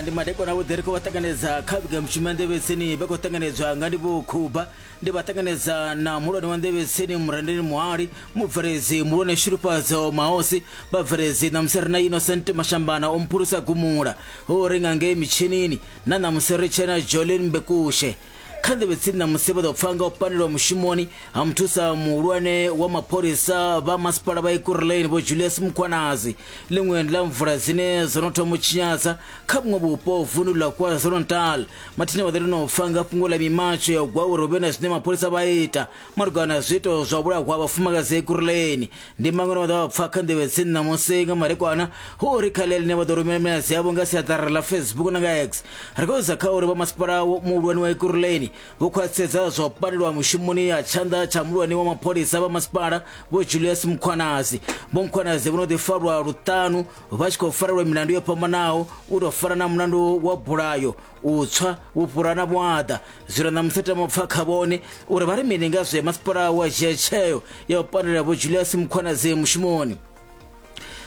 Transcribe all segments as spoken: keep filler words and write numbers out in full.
Ndi madekwana vho ḓi ri khou vha ṱanganedza kha vhugamushumo ya Nḓevhetsini, vha khou ṱanganedzwa nga Ndivho Khuba. Ndi vha ṱanganedza na muhulwane wa Nḓevhetsini Murendeni Muhali, mubveledzi muhulwane Shulufhadzo Mahosi, vhabveledzi ṋamusi ri na Innocent Mashambana o mphulusa gumula ho ri nga ngei mitshinini, na ṋamusi ri tshena Jolene Mbekushe. Kha Nḓevhetsini ṋamusi vha ḓo pfa nga u pandelwa mushumoni ha muthusa muhulwane wa mapholisa vha masipala vha Ekurhuleni Vho Julius Mkhwanazi. Ḽiṅwe ndi ḽa mvula dzine dzo no thoma u tshinyadza kha vhuṅwe vhupo vundu ḽa KwaZulu-Natal. Mathina vha ḓo no pfa nga fhungo ḽa mimatsho ya u gwa uri hu vhe na zwine mapholisa vha ita malugana na zwiito zwa vhulahwa vhafumakadzi Ekurhuleni. Ndi maṅwe vha ḓo pfa kha Nḓevhetsini ṋamusi nga madekwana, hu uri kha ḽine vha ḓo rumela milaedza yavho nga siaṱari ḽa Facebook na nga X. Ri khou isa kha uri vha masipala muhulwane wa Ekurhuleni vho khwaṱhisedza zwa u pandelwa mushumoni ya tshanḓa tsha muhulwane wa mapholisa vha masipala Vho Julius Mkhwanazi. Vho Mkhwanazi vho no ḓi farwa luṱanu vha tshi khou farelwa milandu yo fhambanaho, u tou fana na mulandu wa bulayo, u tswa, vhufhura na vhuaḓa. Zwino ṋamusi tama u pfa kha vhone uri vha ri mini nga zwe masipala wa dzhia tsheo ya u pandela Vho Julius Mkhwanazi mushumoni.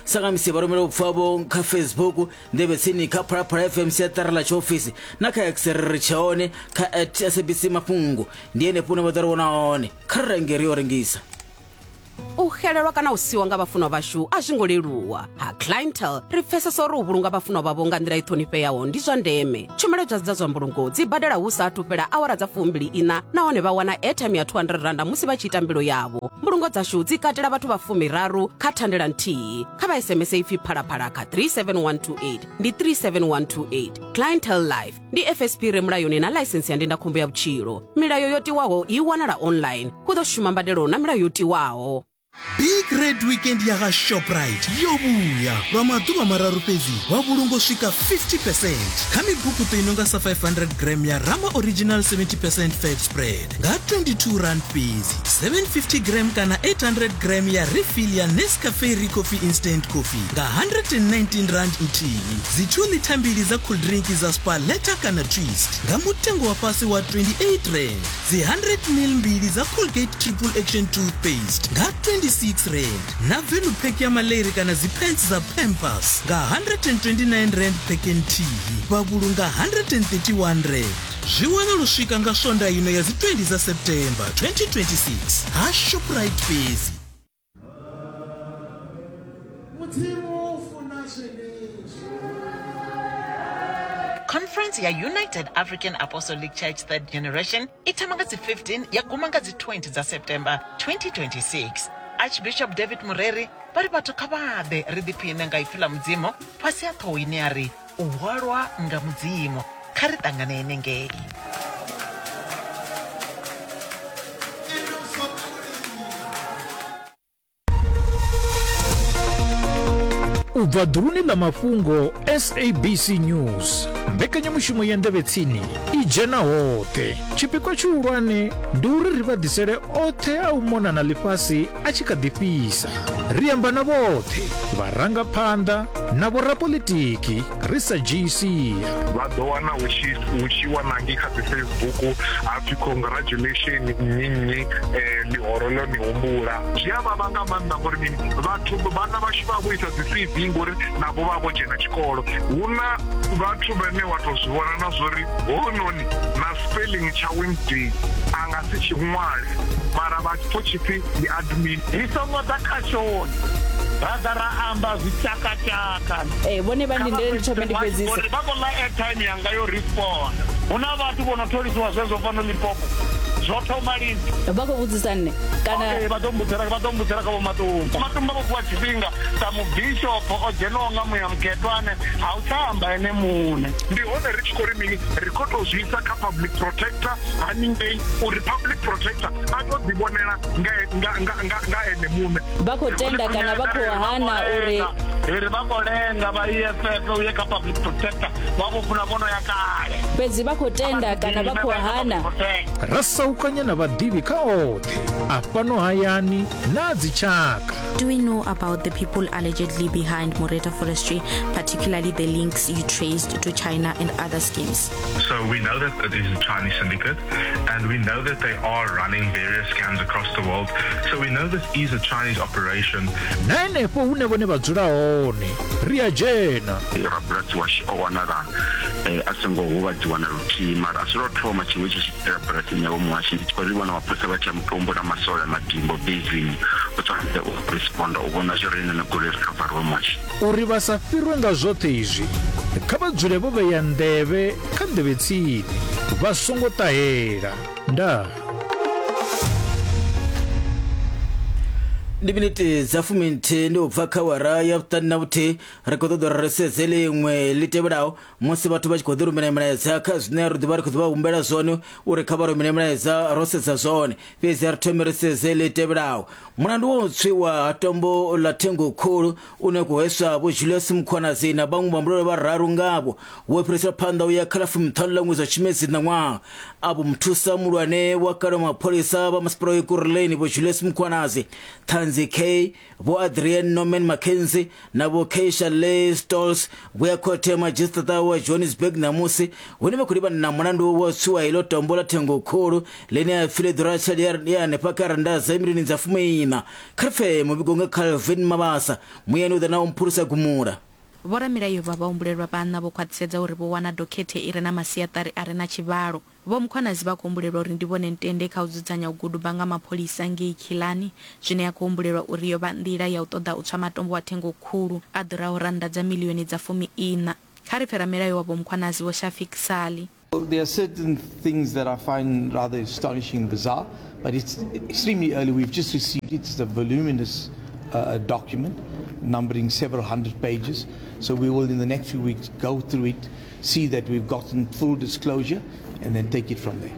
Sangamisi vha rumela vhupfa vho kha Facebook Nḓevhetsini, kha Phalaphala F M siaṱari ḽa tshiofisi, na kha X ri tshe hone kha at S A B C mafhungo. Ndi henefho hune vha ḓo ri vhona hone. Kha ri renge ri yo rengisa. U xelelwa kana u siwa nga vhafunwa vhashu a zwi ngo leluwa. Ha Clientele ri pfesesa uri u vhulunga vhafunwa vhavho nga nḓila i ṱhonifheaho ndi zwa ndeme. Tshumelo dza dza zwa mbulungo dzi badela hu sa athu fhela awara dza fumbili ina, nahone vha wana airtime ya two hundred randa musi vha tshi ita mbilo yavho. Mbulungo dzashu dzi katela vhathu vha fumiraru kha thandela nthihi. Kha vha S M S ipfi phalaphala kha three seven one two eight, ndi three seven one two eight. Clientele Life ndi F S P re mulayoni na ḽaisensi ya ndindakhombo ya vhutshilo. Milayo yo tiwaho i wanala online. Hu ḓo shuma mbadelo na milayo yo tiwaho. Big Red Weekend ya ga Shoprite yo vhuya lwa maḓuvha mararu fhedzi, wa vhulungo swika fifty percent kha mibukuṱo i nonga sa five hundred gram ya Rama Original seventy percent fat spread nga twenty-two rand fhedzi, seven fifty gram kana eight hundred gram ya refill ya Nescafe Recoffee Instant Coffee nga hundred and nineteen rand nthihi, dzi two litha mbili dza cool drink dza Spaleta kana Twist nga mutengo wa fhasi wa twenty-eight rand, dzi hundred mil mbili dza Colgate Triple Action Toothpaste nga twenty-six rand, na value pack ya maleri kana dzi pants dza Pampers nga hundred and twenty-nine rand pack nthihi, vha vhulunga hundred and thirty-one rand. Zwi wana luswika nga sonda ino ya dzi twenty dza September twenty twenty-six ha Shoprite fhedzi. Conference ya United African Apostolic Church Third Generation i thoma nga dzi fifteen ya guma nga dzi twenty dza September twenty twenty-six. Archbishop David Mureri vha ri vhathu kha vha ḓe ri ḓiphine nga ipfi ḽa Mudzimu fhasi ha ṱhoho ine ya ri u hwalwa nga Mudzimu. Kha ri ṱangane henengei. U bva ḓuluni ḽa mafhungo S A B C News, mbekanyamushumo ya Nḓevhetsini i dzhena hoṱhe. Tshipikwa tshihulwane ndi uri ri vha ḓisele oṱhe a u mona na ḽifhasi a tshi kha ḓi fhisa. Ri amba na vhoṱhe, vharangaphanḓa na vhorapolitiki ri sa dzhii sia. Vha ḓo wana hu tshi hu tshi wana ngei kha dzi Facebook ha pfi congratulation nnyi nnyi ḽihoro ḽo ni humbula. Zwi a vhavha nga maanḓa ngori mini, vhathu vhana vhashu vha vho isa dzi C V ngori navho vha vho dzhena tshikolo. Hu na vhathu vhane wa tou zwi vhona na zwori hounoni na spelling tsha Wednesday a nga si tshi ṅwale, mara vha pfo tshipfi ndi admin. Ri songo ḓa khashoni ra ḓa ra amba zwitshakatshaka. Eh, vhone vha ndindele ndi thome ndi fhedzise. Vha khou ḽa airtime yanga yo respond. Hu na vhathu vho no tholisiwa zwezwo fhano Limpopo. Zwo thoma lini? Vha khou vhudzisa nṋe kana okay, vha ḓo mbudzela vha ḓo mbudzela kha Vho Matumba. Matumba vho fhiwa tshifhinga sa mubishopo o dzhenaho nga muya mukhethwane, ha u tsha amba ene muṋe. Ndi hone ri tshi khou ri mini, ri khou tou zwi isa kha public protector haningei uri public protector a tou ḓivhonela nga nga nga nga ene muṋe. Vha khou tenda kana vha khou hana uri ri vha khou lenga vha E F F uye kha public protector vha vho funa vhono ya kale. Fhedzi vha khou tenda kana vha khou hana. Ra saukanya na vhaḓivhi kha oṱhe a fhano hayani na dzitshaka. Do we know about the people allegedly behind Moreta Forestry, particularly the links you traced to China and other schemes? So we know that it is a Chinese syndicate, and we know that they are running various scams across the world. So we know this is a Chinese operation. Na henefho hune vhone vha dzula hone ri a dzhena. Rabulasi washu o wanala a songo huvhadziwa na luthihi, mara a si lwo thoma tshiṅwe tshi tshi bulasini yavho muhashi. Ndi tshi khou ri vhona mapholisa vha tshi ya mutombo na masole madimbo bezini u tshwanela u responda u vhona zwo ri ine goloi ri khavariwe muhashi. Uri vha sa fhirwe nga zwoṱhe izwi, kha vha dzule vho vhea nḓevhe kha nḓevhe tsini, vha songo ṱahela. Ndaa. Ndi miniti dza fuminthihi ndi u bva kha awara ya vhuṱanu na vhuthihi. Ri khou ṱoḓa uri ri sedze ḽiṅwe ḽi tevhelaho musi vhathu vha tshi khou ḓi rumela milaedza kha zwine ri ḓovha ri khou ḓi vha humbela zwone uri kha vha rumele milaedza ro sedza zwone. Fhedzi ri thome ri sedze ḽi tevhelaho. Mulandu wa u tswiwa ha tombo ḽa thengo khulu une khou hweswa Vho Julius Mkhwanazi na vhaṅwe vhahumbulela vhararu ngavho wo fhirisela phanḓa u ya kha ḽa fumiṱhanu ḽa ṅwedzi wa Tshimedzi ṋaṅwaha. Avho muthusa muhulwane wa kale wa mapholisa vha masipala wa Ekurhuleni Vho Julius Mkhwanazi, Ṱhanzi K, Vho Adrian Norman Mackenzie na Vho Keisha Lee Stolz vho ya khothe ya madzhisiṱiraṱa wa Johannesburg ṋamusi, hune vha khou livhana na mulandu wa u tswiwa iḽo tombo ḽa thengo khulu ḽine ya pfi ḽi ḓura tshelede ya hanefha kha rannda dza milioni dza fumiiṋa. Kha ri pfe muvhigo nga Calvin Mabasa, muyani u ḓa na u mphulusa gumula. Vhoramilayo vha vhahumbulelwa vhaṋa vho khwaṱhisedza uri vho wana dokhethe i re na masiaṱari a re na tshivhalo. Vho Mkhwanazi vha khou humbulelwa uri ndi vhone ntende kha u dzudzanya u guduba nga mapholisa ngei Killarney, zwine ya khou humbulelwa uri yo vha nḓila ya u ṱoḓa u tswa matombo wa thengo khulu a ḓuraho rannda dza milioni dza fumiiṋa. Kha ri pfe ramilayo wa Vho Mkhwanazi Vho Shafiq Sali. There are certain things that I find rather astonishing and bizarre, but it's extremely early. We've just received it. It's a voluminous uh, document numbering several hundred pages. So we will, in the next few weeks, go through it, see that we've gotten full disclosure, and then take it from there.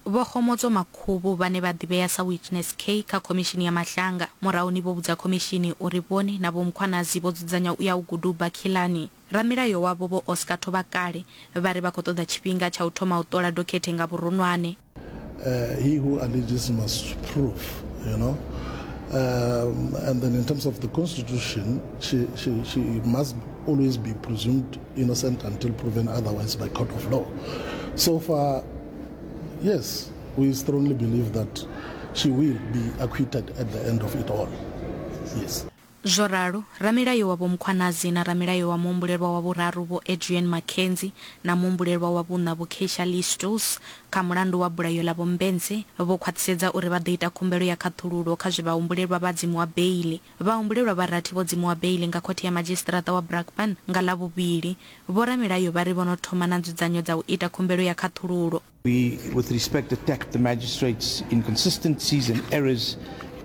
Vho Khomotso Makhubu vhane vha ḓivhea sa Witness K kha khomishini ya Mahlanga murahuni vho vhudza khomishini uri vhone na Vho Mkhwanazi vho dzudzanya u ya u guduba Killarney. Ramilayo wavho Vho Oscar Thobakale vha ri vha khou ṱoḓa tshifhinga tsha u thoma u ṱola dokhethe nga vhuronwane. Uh, he who alleges must prove, you know. Um, and then in terms of the Constitution, she, she, she must always be presumed innocent until proven otherwise by court of law. So far, yes, we strongly believe that she will be acquitted at the end of it all. Yes. Zwo ralo, ramilayo wa Vho Mkhwanazi na ramilayo wa muhumbulelwa wa vhuraru Vho Adrian Mackenzie na muhumbulelwa wa vhuṋa Vho Keisha Lee Stolz kha mulandu wa bulayo ḽa Vho Mbense vho khwaṱhisedza uri vha ḓo ita khumbelo ya khaṱhululo kha zwe vhahumbulelwa vha dzimiwa beili. Vhahumbulelwa vha rathi vho dzimiwa beili nga khothe ya madzhisiṱiraṱa wa Brakpan nga Ḽavhuvhili. Vho ramilayo vha ri vho no thoma na nzudzanyo dza u ita khumbelo ya khaṱhululo. We, with respect, attacked the magistrate's inconsistencies and errors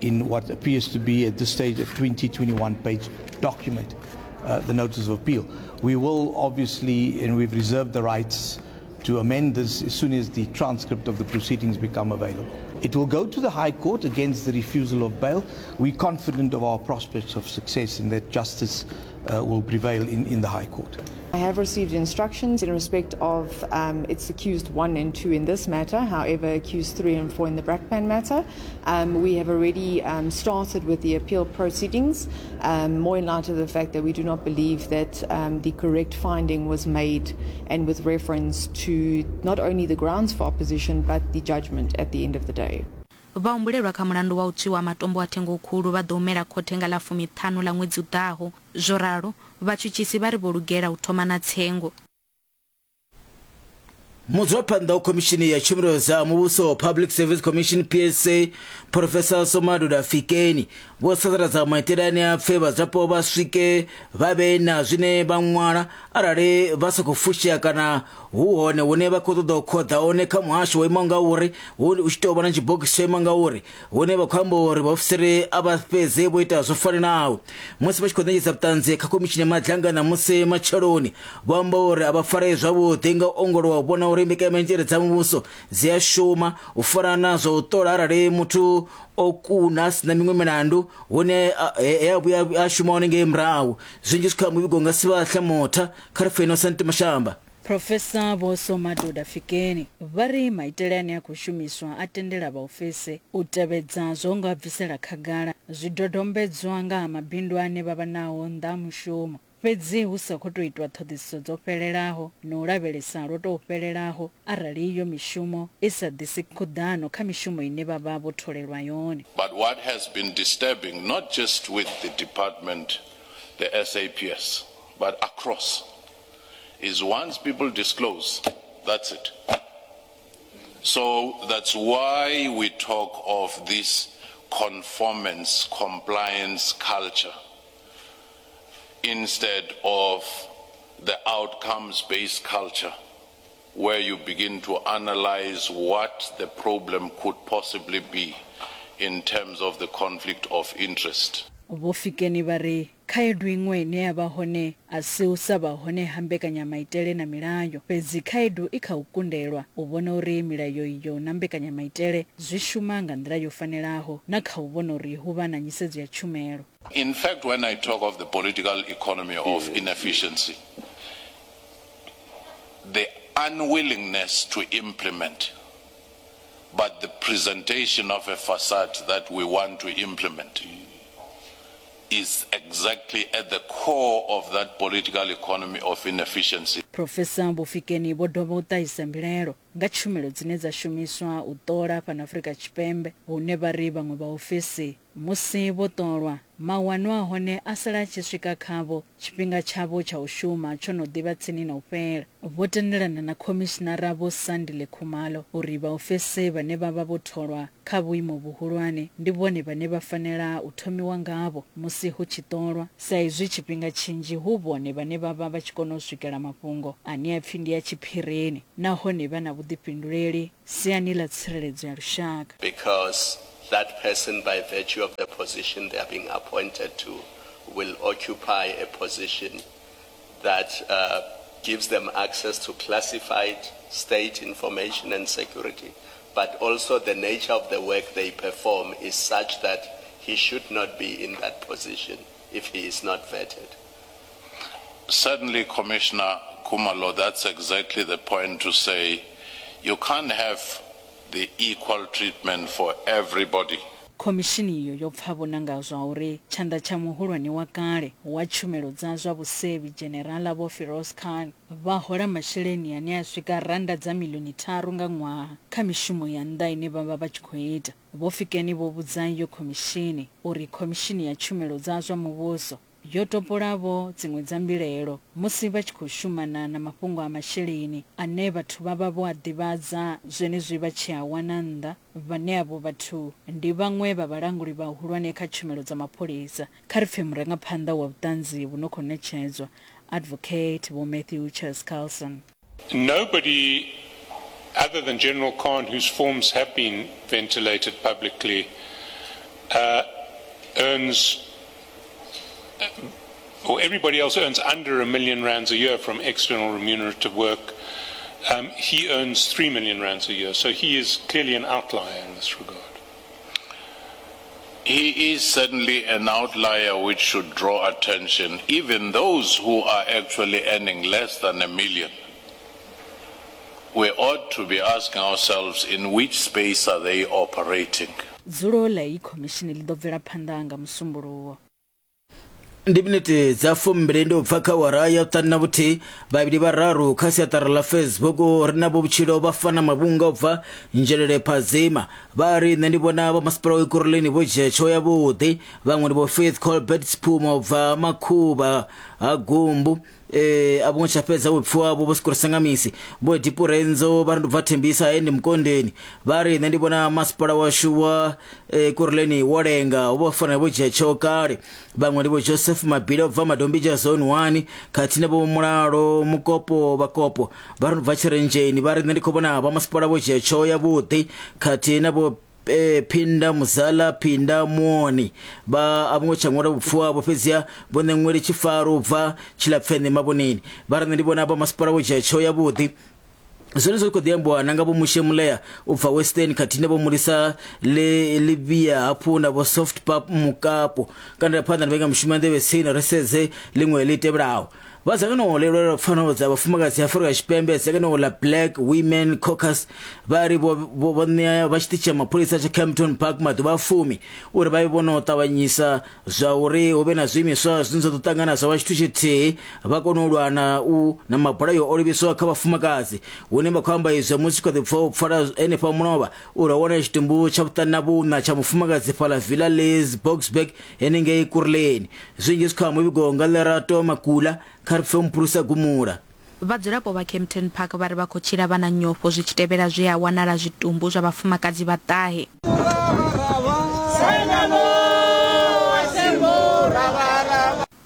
in what appears to be at this stage a twenty twenty-one page document, uh, the notice of appeal. We will obviously, and we've reserved the rights to amend this as soon as the transcript of the proceedings become available. It will go to the High Court against the refusal of bail. We're confident of our prospects of success and that justice uh, will prevail in, in the High Court. I have received instructions in respect of um, it's accused one and two in this matter, however, accused three and four in the Brakpan matter. Um, we have already um, started with the appeal proceedings, um, more in light of the fact that we do not believe that um, the correct finding was made, and with reference to not only the grounds for opposition but the judgment at the end of the day. Vhahumbulelwa kha mulandu wa u tswiwa matombo a thengo khulu vha ḓo humela khothe nga ḽa fumiṱhanu ḽa ṅwedzi u ḓaho. Zwo ralo, vhatshutshisi vha ri vho lugela u thoma na tsengo. Mudzulaphanḓa wa khomishini ya tshumelo dza muvhuso Public Service Commission P S C Professor Somadoda Fikeni vho sasaladza maitele ane a pfe vhadzulapo vha swike vha vhe na zwine vha ṅwala arali vha sa khou fushea kana hu hone hune vha khou ṱoḓa u khoḓa hone kha muhasho wo imaho nga uri hu tshi tou vha na tshibogisi tsho imaho nga uri hune vha khou amba uri vhaofisiri a vha fhedze vho ita zwo fanelaho. Musi vha tshi khou ṋetshedza vhuṱanzi kha khomishini ya Madlanga ṋamusi matsheloni vho amba uri a vha farei zwavhuḓi nga u ongolowa u vhona uri mbekanyamaitele dza muvhuso dzi a shuma u fana na zwa u ṱola arali muthu o kuna a sina miṅwe milandu hune a vhuya a shuma hone ngei murahu. Zwinzhi zwi kha muvhigo nga Sivhahla Motha kha ri pfe Innocent Mashamba. Professor Vho Somadoda Fikeni vha ri maitele ane a khou shumiswa a tendela vhaofisi u tevhedza zwo nga bvisela khagala zwidodombedzwa nga ha mabindu ane vha vha nao nnḓa ha mushumo. Fhedzi hu sa khou tou itwa ṱhoḓisiso dzo fhelelaho na u lavhelesa lwo tou fhelelaho arali iyo mishumo i sa ḓisi khuḓano kha mishumo ine vha vha vho tholelwa yone. But what has been disturbing, not just with the department, the S A P S, but across, is once people disclose, that's it. So that's why we talk of this conformance, compliance culture instead of the outcomes-based culture where you begin to analyze what the problem could possibly be in terms of the conflict of interest. Vho Fikeni vha ri khaedu iṅwe ine ya vha hone a si u sa vha hone ha mbekanyamaitele na milayo, fhedzi khaedu i kha u kundelwa u vhona uri milayo iyo na mbekanyamaitele zwi shuma nga nḓila yo fanelaho na kha u vhona uri hu vha na nyisedzo ya tshumelo. In fact, when I talk of the political economy of inefficiency, the unwillingness to implement, but the presentation of a facade that we want to implement is exactly at the core of that political economy of inefficiency. Professor Vho Fikeni vho dovha u ṱahisa mbilaelo nga tshumelo dzine dza shumiswa u ṱola fhano Afrika Tshipembe, hune vha ri vhaṅwe vha ofisi musi vho ṱolwa mawanwa a hone a sala a tshi swika khavho tshifhinga tshavho tsha u shuma tsho no ḓivha tsini na u fhela. Vho tendelana na khomishinara Vho Sandile Khumalo uri vhaofisi vhane vha vha vho tholwa kha vhuimo vhuhulwane ndi vhone vhane vha fanela u thomiwa ngavho musi hu tshi ṱolwa, sa izwi tshifhinga tshinzhi hu vhone vhane vha vha vha tshi kona u swikela mafhungo ane a pfi ndi ya tshiphirini nahone vha na vhuḓifhinduleli siani ḽa tsireledzo ya lushaka. Because that person, by virtue of the position they are being appointed to, will occupy a position that uh, gives them access to classified state information and security, but also the nature of the work they perform is such that he should not be in that position if he is not vetted. Certainly, Commissioner Khumalo, that's exactly the point to say you can't have the equal treatment for everybody. Khomishini iyo yo pfa vhona nga zwa uri tshanḓa tsha muhulwane wa kale wa tshumelo dza zwa vhusevhi Dzhenerala Vho Firoz Khan vha hola masheleni ane a swika randa dza milioni tharu nga ṅwaha kha mishumo ya nnḓa ine vha vha vha tshi khou ita. Vho Fikeni vho vhudza iyo khomishini uri khomishini ya tshumelo dza zwa muvhuso yo topolavho dziṅwe dza mbilaelo musi vha tshi khou shumana na mafhungo a masheleni ane vhathu vha vha vho a ḓivhadza zwenezwi vha tshi a wana nnḓa. Vhane avho vhathu ndi vhaṅwe vha vhalanguli vhahulwane kha tshumelo dza mapholisa. Kha ri pfe murangaphanḓa wa vhuṱanzi vhu no khou ṋetshedzwa, Advocate Vho Matthew Chaskalson. Nobody other than General Khan, whose forms have been ventilated publicly, uh, earns, or everybody else earns under a million rands a year from external remunerative work. Um, he earns three million rands a year, so he is clearly an outlier in this regard. He is certainly an outlier which should draw attention, even those who are actually earning less than a million. We ought to be asking ourselves, in which space are they operating? Dzulo ḽa iyi khomishini ḽi ḓo bvela phanḓa nga Musumbuluwo. Ndi minete dza fumbili ndi u bva kha awara ya vhuṱanu na vhuthihi vhavhili vhararu kha siaṱari ḽa Facebook ri na vho vhutshilo vha fana mavhunga u bva Nzhelele Phazima vha ri nṋe ndi vhona vha masipala wa Ekurhuleni vho dzhia tsheo yavhuḓi. Vhaṅwe ndi vho Faith Colbert Siphuma u bva Makhuvha ha Gumbu, eh a vho tsha fhedza vhupfi wavho vho Sikoro Sangamisi. Vho Dipurenzo vha ri ndi bva Thembisa ende Mukondeni vha ri nṋe ndi vhona masipala washu wa Ekurhuleni wo lenga vho fanela vho dzhia tsheo kale. Vhaṅwe ndi vho Joseph Mabila bva Madombija zone one khathihi na vho Mulalo Mukopo Vhakopo vha ri bva Tshirenzheni vha ri nṋe ndi khou vhona vha masipala vho dzhia tsheo yavhuḓi khathihi na vho e, Phinda Muzala Phinda Muoni vha a vho tsha ṅwala vhupfi wavho fhedziha vho ṋeṅwele tshifaro bva Tshilapfene Mavhoneni vha ri nṋe ndi vhona vha masipala vho dzhia tsheo yavhuḓi. Zwone zwi khou ḓi ambiwa na nga vho Mushe Mulea u bva Western khathihi na vho Mulisa le Livia hafhu na vho Soft Pap Mukapo. Kana phanḓa na vhenga mushumo nḓevhe tsini ri sedze ḽiṅwe ḽi tevhelaho. Vha dzangano ḽi lwela pfanelo dza vhafumakadzi Afrika Tshipembe, dzangano ḽa Black Women Caucus, vha ri vho vho ṋea vha tshiṱitshi tsha mapholisa tsha Kempton Park maḓuvha a fumi uri vha vhe vho no ṱavhanyisa zwa uri hu vhe na zwiimiswa zwine zwa ḓo ṱangana zwa vha tshithu tshithihi, vha kone u lwa na u na mabulayo o livhiswaho kha vhafumakadzi. Hune vha khou amba izwo musi kha ḓi pfa u pfala henefha mulovha uri ho wana tshitumbu tsha vhuṱanu na vhuṋa tsha mufumakadzi fhaḽa Villa Les Boksburg henengei Kuruleni. Zwinzhi zwi kha muvhigo nga Lerato Makula, kha ri pfe muphurusa Gumula. Vhadzulapo vha Kempton Park vha ri vha khou tshila vha na nyofho zwi tshi tevhela zwe ha wanala zwitumbu zwa vhafumakadzi vha ṱahe.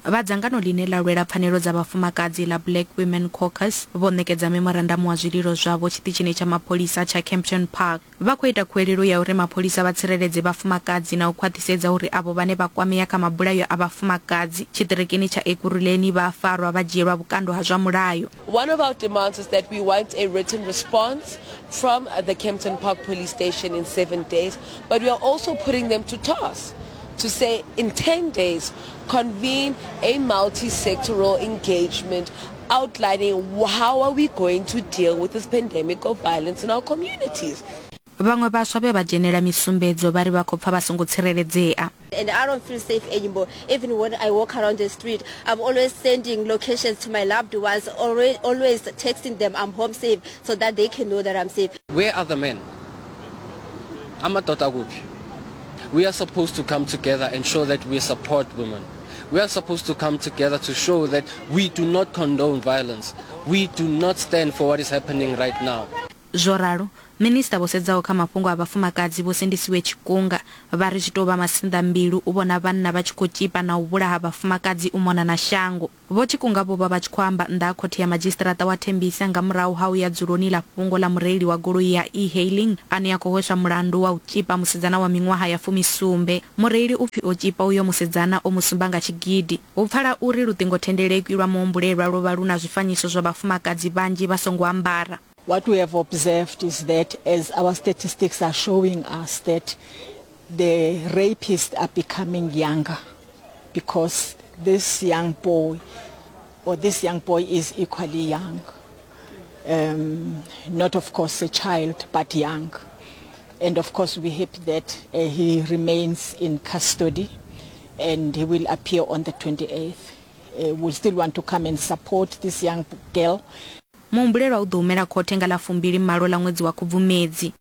Vha dzangano ḽine ḽa lwela pfanelo dza vhafumakadzi ḽa Black Women Caucus vho ṋekedza memorandamu wa zwililo zwavho tshiṱitshini tsha mapholisa tsha Kempton Park. Vha khou ita khuwelelo ya uri mapholisa vha tsireledze vhafumakadzi na u khwaṱhisedza uri avho vhane vha kwamea kha mabulayo a vhafumakadzi tshiṱirikini tsha Ekurhuleni vha farwa vha dzhielwa vhukando ha zwa mulayo. One of our demands is that we want a written response from the Kempton Park Police Station in seven days, but we are also putting them to task to say in ten days, convene a multi-sectoral engagement outlining how are we going to deal with this pandemic of violence in our communities. Vhaṅwe vhaswa vhe vha dzhenela misumbedzo vha ri vha khou pfa vha songo tsireledzea. And I don't feel safe anymore. Even when I walk around the street, I'm always sending locations to my loved ones, always, always texting them I'm home safe so that they can know that I'm safe. Where are the men? Amadoda kuphi? We are supposed to come together and show that we support women. We are supposed to come together to show that we do not condone violence. We do not stand for what is happening right now. Zwo ralo, minista vho sedzaho kha mafhungo a vhafumakadzi vho Sindisiwe Tshikunga vha ri zwi tou vha masinḓambilu u vhona vhanna vha tshi khou tzhipa na u vhulaha vhafumakadzi u mona na shango. Vho Tshikunga vho vha vha tshi khou amba nnḓa ha khothe ya madzhisiṱiraṱa wa Tembisa nga murahu ha u ya dzuloni ḽa fhungo ḽa mureili wa goloi ya e-hailing ane a khou hweswa mulandu wa u tzhipa musidzana wa miṅwaha ya fumisumbe. Mureili u pfi o tzhipa uyo musidzana o musumba nga tshigidi. Hu pfala uri luṱingothendeleki lwa muhumbulelwa lwo vha lu na zwifanyiso zwa vhafumakadzi vhanzhi vha songo ambara. What we have observed is that as our statistics are showing us that the rapists are becoming younger, because this young boy or this young boy is equally young. Um, not of course a child, but young. And of course we hope that uh, he remains in custody and he will appear on the twenty-eighth. Uh, we still want to come and support this young girl. Muhumbulelwa u ḓo humela khothe nga ḽa fumbili malo ḽa ṅwedzi wa Khubvumedzi.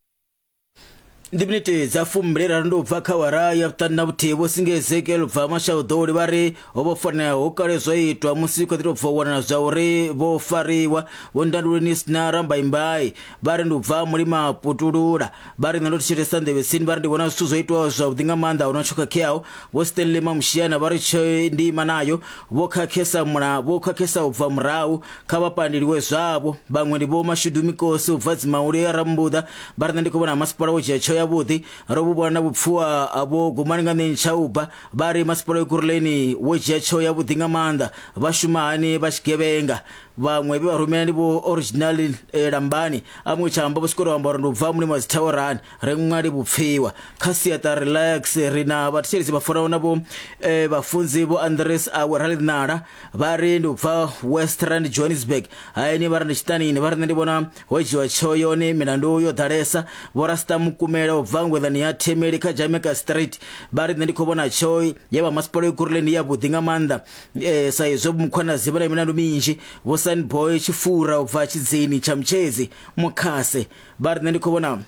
Ndi minete dza fumbili raru ndi u bva kha awara ya vhuṱanu na vhuthihi. Vho Singe Ezekiel bva Mashaudoli vha ri ho vho fanela ho kale zwo itwa musi kha ḓi tou bva u wanala zwa uri vho fariwa. Vho Ndanduleni Sina Rambaimbai vha ri ndi u bva Mulima Putulula, vha ri nṋe ndo thetshelesa nḓevhesini, vha ri ndi vhona zwithu zwo itwaho zwavhuḓi nga maanḓa, huna tsho khakheaho. Vho Stanley Mamushiana vha ri tsho ndi ima nayo, vho khakhesa mula vho khakhesa u bva murahu, kha vha pandeliwe zwavho. Vhaṅwe ndi Vho Mashudu Mikosi u bva Dzimauli ya Rambuḓa vha ri nṋe ndi khou vhona masipala wo dzhia tsheo yavhuḓi, ro vhu vhona na vhupfuwa vho Gumani nga Ntsha vha ri masipala wa Ekurhuleni wo dzhia tsheo yavhuḓi nga maanḓa, vha shuma hani vha tshigevhenga. Vhaṅwe vhe vha rumela ndi Vho Original eh, Lambani amwe tshamba vho swika amba uri ndi u bva Mulima Dzithawarani ri ṅwali vhupfiwa. Kha siaṱa relax ri na vhathetshelesi vha fanaho na vho eh, vhafunzi Vho Andres Awe Ralinala vha ri ndi u bva West Rand Johannesburg, haini vha ri ndi tshiṱanini, vha ri nṋe ndi vhona ho dzhiwa tsheo yone milandu yo ḓalesa. Vho Rasta Mukumela u bva Ngweḓani ya Themeli kha Jamaica Street vha ri nṋe ndi khou vhona tsheo ya vha masipala Ekurhuleni ya vhuḓi nga maanḓa, eh, sa izwo Mkhwanazi vha na milandu minzhi. Vho Sunboy Tshifura u bva Tshidzini tsha Mutshedzi Mukhase vha ri nṋe ndi khou vhona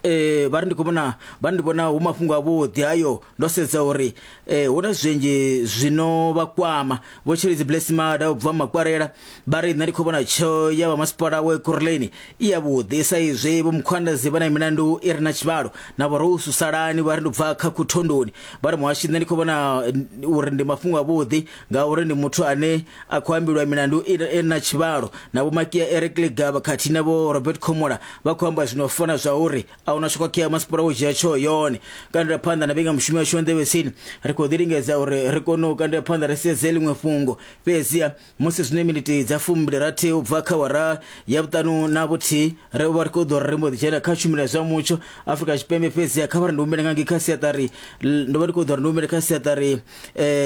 eh vha ri ndi khou vhona vha ndi vhona hu mafhungo avhuḓi hayo, ndo sedza uri eh hu na zwinzhi zwino vha kwama. Vho Tshilidzi Blessing Mada u bva Makwarela vha ri nṋe ndi khou vhona tsheo ya vha masipala wa Ekurhuleni i yavhuḓi sa izwi Vho Mkhwanazi vha na milandu i re na tshivhalo. Na Vho Rose Salani vha ri ndi bva kha Khuthondoni vha ri muhashi nṋe ndi khou vhona uri ndi mafhungo avhuḓi ngauri ndi muthu ane a khou ambiwa milandu i re na tshivhalo. Na Vho Makia Eric Ligaba khathihi na Vho Robert Khomola vha khou amba zwino fana zwa uri a a huna tsho khakhea masipala wo dzhia tsho yone. Kandela phanḓa na vhinga mushumo yashu nḓevhetsini ri khou ḓi lingedza uri ri kone u kandela phanḓa ri sedze ḽiṅwe fhungo, fhedziha musi zwine miniti dza fumbili rathi u bva kha awara ya vhuṱanu na vhuthihi ri vha ri khou ḓo ri mbo ḓi dzhena kha tshumelo ya zwa mutsho Afrika Tshipembe. Fhedziha kha vha ri ndi humbele nga ngei kha siaṱari, ndo vha ndi khou ḓo ri ndi humbele kha siaṱari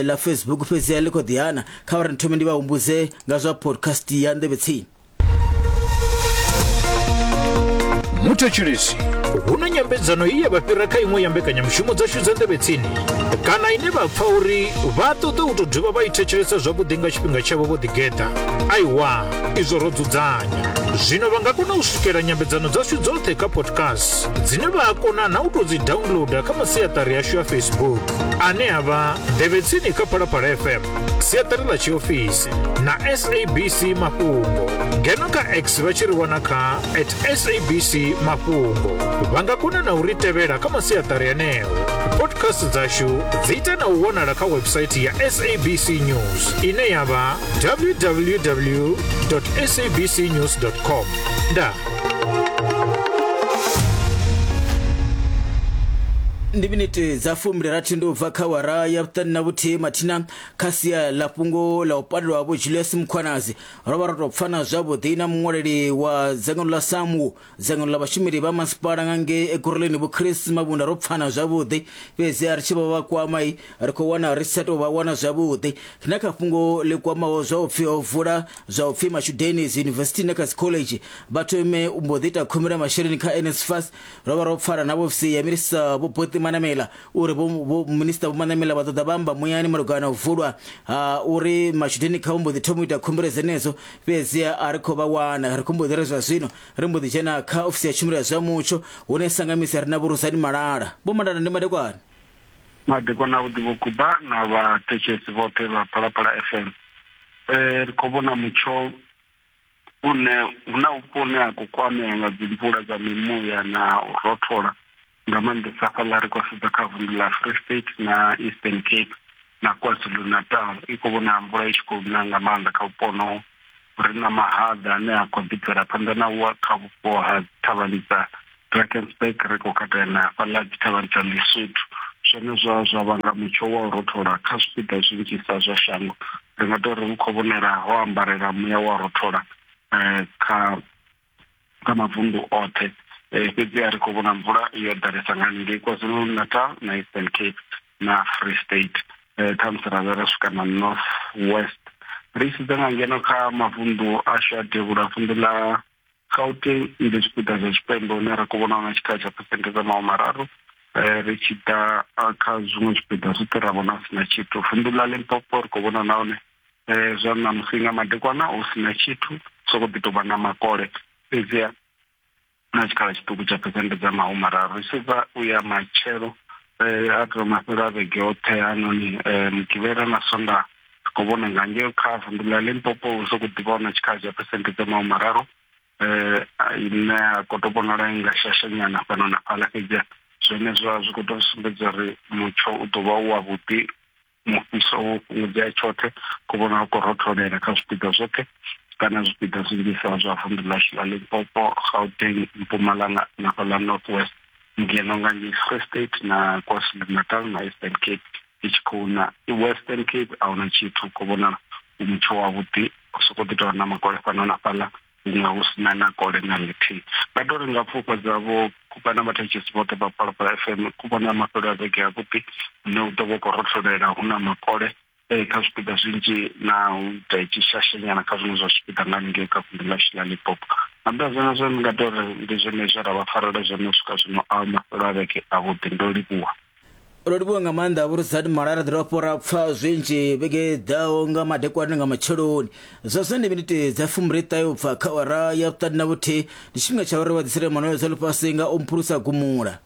ḽa Facebook, fhedziha ḽi khou ḓi hana. Kha vha ri thome ndi vha humbudze nga zwa podcast ya nḓevhetsini. Muthetshelesi, hu na nyambedzano ye ya vha fhira kha iṅwe ya mbekanyamushumo dzashu dza nḓevhetsini kana ine vha pfa uri vha ṱoḓa u tou dovha vha i thetshelesa zwavhuḓi nga tshifhinga tshavho vho ḓigeḓa. Aiwa, izwo ro dzudzanya. Zwino vha nga kona u swikela nyambedzano dzashu dzoṱhe kha podcast dzine vha a kona na u tou dzi downloada kha masiaṱari ashu a Facebook ane a vha nḓevhetsini kha Phalaphala F M, siaṱari ḽa tshiofisi na S A B C Mafhungo. Ngeno kha X vha tshi ri wana kha at S A B C Mafhungo. Vha nga kona na u ri tevhela kha masiaṱari aneo. Podcast dzashu dzi ita na u wanala kha website ya S A B C News ine ya vha w w w dot s a b c news dot com. Nda ndi miniti dza fumbili rathi ndi u bva kha awara ya vhuṱanu na vhuthihi mathina kha sia ḽa fhungo ḽa u pandelwa vho Julius Mkhwanazi. Ro vha ro tou pfana zwavhuḓi na muṅwaleli wa dzangano ḽa SAMWU, dzangano ḽa vhashumeli vha masipala nga ngei Ekurhuleni Vho Chris Mabunda, ro pfana zwavhuḓi, fhedzi ri tshi vha vha kwama ri khou wana ri sa tou vha wana zwavhuḓi. Na kha fhungo ḽi kwamaho zwa u pfhi ho vula zwa u pfhi Matshudeni University na kha college vha thome u mbo ḓi ita khumbelo ya masheleni kha N S F A S. Ro vha ro pfana na vhofisi ya minisiṱa Vho Boti Manamela uri vho minisiṱa Vho Manamela vha ṱoḓa vha amba muyani malugana na u vulwa ha uri matshudeni kha mbo ḓi thoma u ita khumbelo dzenedzo, fhedzi a ri khou vha wana. Ri khou mbo ḓi ri zwa zwino ri mbo ḓi dzhena kha ofisi ya tshumelo ya zwa mutsho hune sangamisa ri na Vho Rusani Malala. Vho Malala, ndi madekwana. Madekwana avhuḓi Vho Kuba na vhathetshelesi vhoṱhe vha Phalaphala F M. Eh ri khou vhona mutsho une hu na vhupo hune ha khou kwamea nga dzi mvula dza mimuya na u rothola, nga maanḓesa hafhaḽa ri khou sedza kha vunḓu ḽa Free State na Eastern Cape na KwaZulu-Natal. I khou vhona mvula i tshi khou na nga maanḓa kha vhupo honoho. Ri na mahaḓa ane a khou ḓi bvela phanḓa na u wa kha vhupo ha thavhani dza Drakensberg, ri khou katela na hafhaḽa dzi thavhani dza Lesotho. Zwenezwo zwa vhanga mutsho wa u rothola kha zwipiḓa zwinzhisa zwa shango. Ri nga tou ri hu khou vhonala ho ambarela muya wa rothola kha kha mavunḓu oṱhe. Fhedzi a ri khou vhona mvula yo ḓalesa nga ngei KwaZulu-Natal na Eastern Cape na Free State, khamusi ra vha ra swika na North West. Ri sedza nga ngeno kha mavunḓu ashu a devhula, vunḓu ḽa Gauteng ndi zwipiḓa zwa tshipembe hune ra khou vhona na tshikhala tsha phesenthe dza mahumi mararu. Ri tshi ḓa kha zwiṅwe zwipiḓa zwoṱhe ra vhona hu si na tshithu. Vunḓu ḽa Limpopo ri khou vhona nahone zwa ṋamusi nga madekwana hu si na tshithu, sokou ḓi tou vha na makole, fhedziha na tshikhala tshiṱuku tsha phesenthe dza mahumi mararu. Ri sedza u ya matshelo a tou mafhelo a vhege oṱhe hanoni Mugivhela na Sondaha ri khou vhona nga ngei kha vunḓu ḽa Limpopo hu sokou ḓi vha na tshikhala tsha phesenthe dza mahumi mararu, ine ya khou tou vhonala i nga shashanyana fhano na fhaḽa, fhedziha zwenezwo zwi khou tou sumbedza uri mutsho u ḓo vha u wavhuḓi, mufhiso wo fhungudzea tshoṱhe, khou vhona u khou rotholela kha zwipiḓa zwoṱhe kana zwipiḓa zwinzhisa zwa vunḓu ḽashu ḽa Limpopo, Gauteng, Mpumalanga na fhaḽa North West, ngeno nga ngei Free State na KwaZulu-Natal na Eastern Cape i tshi khou na. Western Cape a huna tshithu, khou vhonala u mutsho wavhuḓi, sokou ḓi tou vha na makole fhano na fhaḽa, huṅwe hu si na na kole na ḽithihi. Vha tou ri nga pfufha dza vho Kuba na vhathetshelesi vhoṱhe vha Phalaphala F M, ku vhona mafhelo a vhege avhuḓi hune hu ḓo vha khou rotholela, hu na makole kha zwipiḓa zwinzhi na u ita i tshi shashenyana kha zwiṅwe zwa zwipiḓa nga ngei kha vunḓu ḽashu ḽa Limpopo. Nga nnḓa ha zwenezwo ndi nga tou ri ndi zwone zwe ra vha farela zwone u swika zwino a mafhelo a vhege avhuḓi. Ndo livhuwa. Ro livhuwa nga maanḓa Vho Rusani Malala, ri dovha ra pfa zwinzhi vhege ḓaho nga madekwana nga matsheloni. Zwa zwino ndi miniti dza fumbili ṱahe u bva kha awara ya vhuṱanu na vhuthihi, ndi tshifhinga tsha uri vha ḓisele manoyo dza ḽifhasi nga u mphulusa gumula.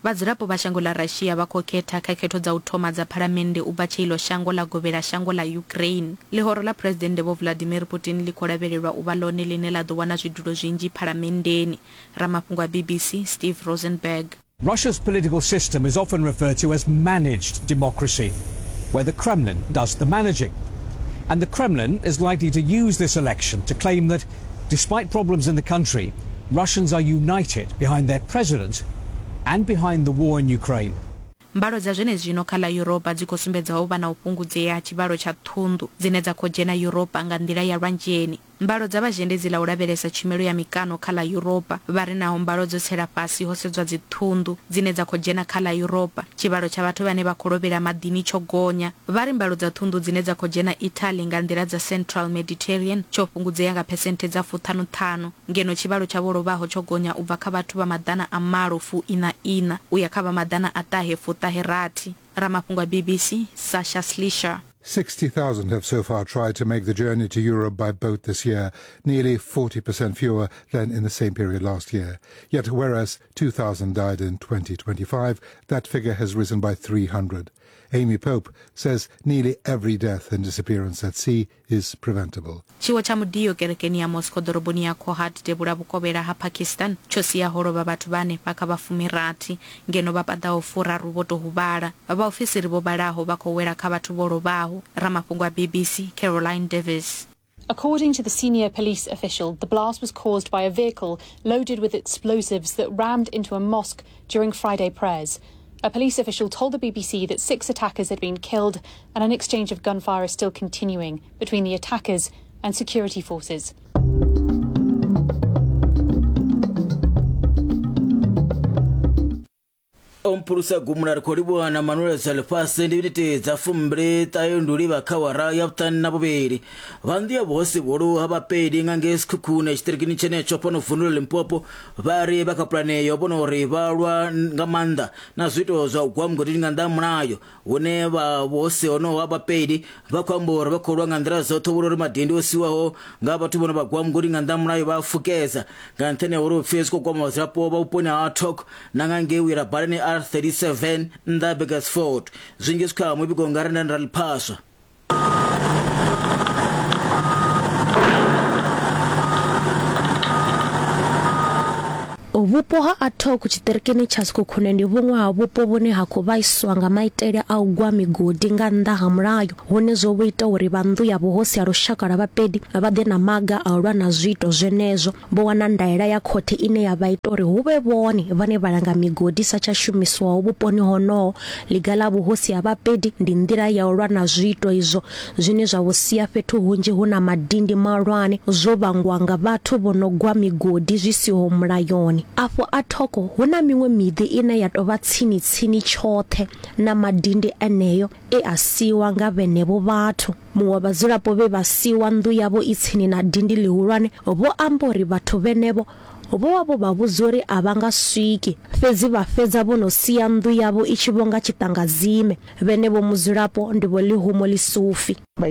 Vhadzulapo vha shango ḽa Russia vha khou khetha kha khetho dza u thoma dza phalamennde u bva tshe iḽo shango ḽa govhela shango ḽa Ukraine. Ḽihoro ḽa Phresidennde Vho Vladimir Putin ḽi khou lavhelelwa u vha ḽone ḽine ḽa ḓo wana zwidulo zwinzhi phalamenndeni. Ramafhungo a B B C Steve Rosenberg. Russia's political system is often referred to as managed democracy, where the Kremlin does the managing. And the Kremlin is likely to use this election to claim that, despite problems in the country, Russians are united behind their president and behind the war in Ukraine. Mbalo dza zwenezwino kha ḽa Yuropa dzi khou sumbedza u vha na u fhungudzea ha tshivhalo tsha ṱhunḓu dzine dza khou dzhena Yuropa nga nḓila ya lwanzheni. Mbalo dza vhazhendedzi ḽa u lavhelesa tshumelo ya mikano kha ḽa Yuropa vha ri naho mbalo dzo tsela fhasi ho sedzwa dziṱhunḓu dzine dza khou dzhena kha ḽa Yuropa, tshivhalo tsha vhathu vhane vha khou lovhela maḓini tsho gonya. Vha ri mbalo dza ṱhunḓu dzine dza khou dzhena Italy nga nḓila dza Central Mediterranean tsho fhungudzea nga phesenthe dza fuṱhanuṱhanu, ngeno tshivhalo tsha vho lovhaho tsho gonya u bva kha vhathu vha maḓana a malo fu ina ina u ya kha vha maḓana a ṱahe fuṱahe rathi. Ramafhungo a B B C, Sasha Slisher. sixty thousand have so far tried to make the journey to Europe by boat this year, nearly forty percent fewer than in the same period last year. Yet whereas two thousand died in twenty twenty-five, that figure has risen by three hundred. Amy Pope says nearly every death and disappearance at sea is preventable. Tshiwo tsha mudio kerekeni ya Moscow ḓoroboni ya Kohat devhula vhukovhela ha Pakistan tsho sia ho lovha vhathu vhane vha kha vha fumirathi ngeno vha paḓaho furaru vho tou huvhala. Vhaofisiri vho vhalaho vha khou wela kha vhathu vho lovhaho. Ramafhungo a B B C, Caroline Davis. According to the senior police official, the blast was caused by a vehicle loaded with explosives that rammed into a mosque during Friday prayers. A police official told the B B C that six attackers had been killed and an exchange of gunfire is still continuing between the attackers and security forces. Ompulusa gumula ri khou livhuwa na Manuel Zalifhasi ndi miniti dza fumbili ṱahe ndi u livha kha awara ya vhuṱanu na vhuvhili. Vha nnḓu ya vhuhosi vhuhulu ha Vhapedi nga ngei Sekhukhune tshiṱirikini tshenetsho fhano vunḓu ḽa Limpopo vha ri vha kha pulane yo vhona uri vha lwa nga maanḓa na zwiito zwa u gwa mugodini nga nnḓa ha mulayo, hune vha vhuhosi honoho ha Vhapedi vha khou amba uri vha khou lwa nga nḓila dzoṱhe vhona uri madindi o siwaho nga vhathu vhone vha gwa mugodi nga nnḓa ha mulayo vha a fukedza nga nṱhani ha uri upfhi zwi khou kwama vhadzulapo vha vhuponi ha Tok na nga ngei wira balani R thirty-seven nnḓa Burgersfort. Zwinzhi zwi kha muvhigo nga renda ra ḽiphaswa. Vhupo ha Atok tshiṱirikini tsha Sekhukhune ndi vhuṅwe ha vhupo vhune ha khou vhaiswa nga maitele a u gwa migodi nga nnḓa ha mulayo, hune zwo vho ita uri vha nnḓu ya vhuhosi ha lushaka lwa Vhapedi vha ḓe na maga a u lwa na zwiito zwenezwo. Vho wana ndaela ya khothe ine ya vha ita uri hu vhe vhone vhane vha langa migodi sa tsha shumiswaho vhuponi honoho. Ḽiga ḽa vhuhosi ha Vhapedi ndi nḓila ya u lwa na zwiito izwo zwine zwa vho sia fhethu hunzhi hu na madindi mahulwane zwo vhangwa nga vhathu vho no gwa migodi zwi siho mulayoni. Afho Athoko hu na miṅwe miḓi ine ya tovha tsini tsini tshoṱhe na madindi eneyo e a siwa nga vhenevho vhathu. Muṅwe vhadzulapo vhe vha siwa nnḓu yavho i tsini na dindi ḽihulwane vho amba uri vhathu vhenevho vho vha vho vha vhudza uri a vha nga swiki, fhedzi vha fhedza vho no sia nnḓu yavho i tshi vho nga tshiṱangadzime. Vhenevho mudzulapo ndi vho Lihumo Lisufi. The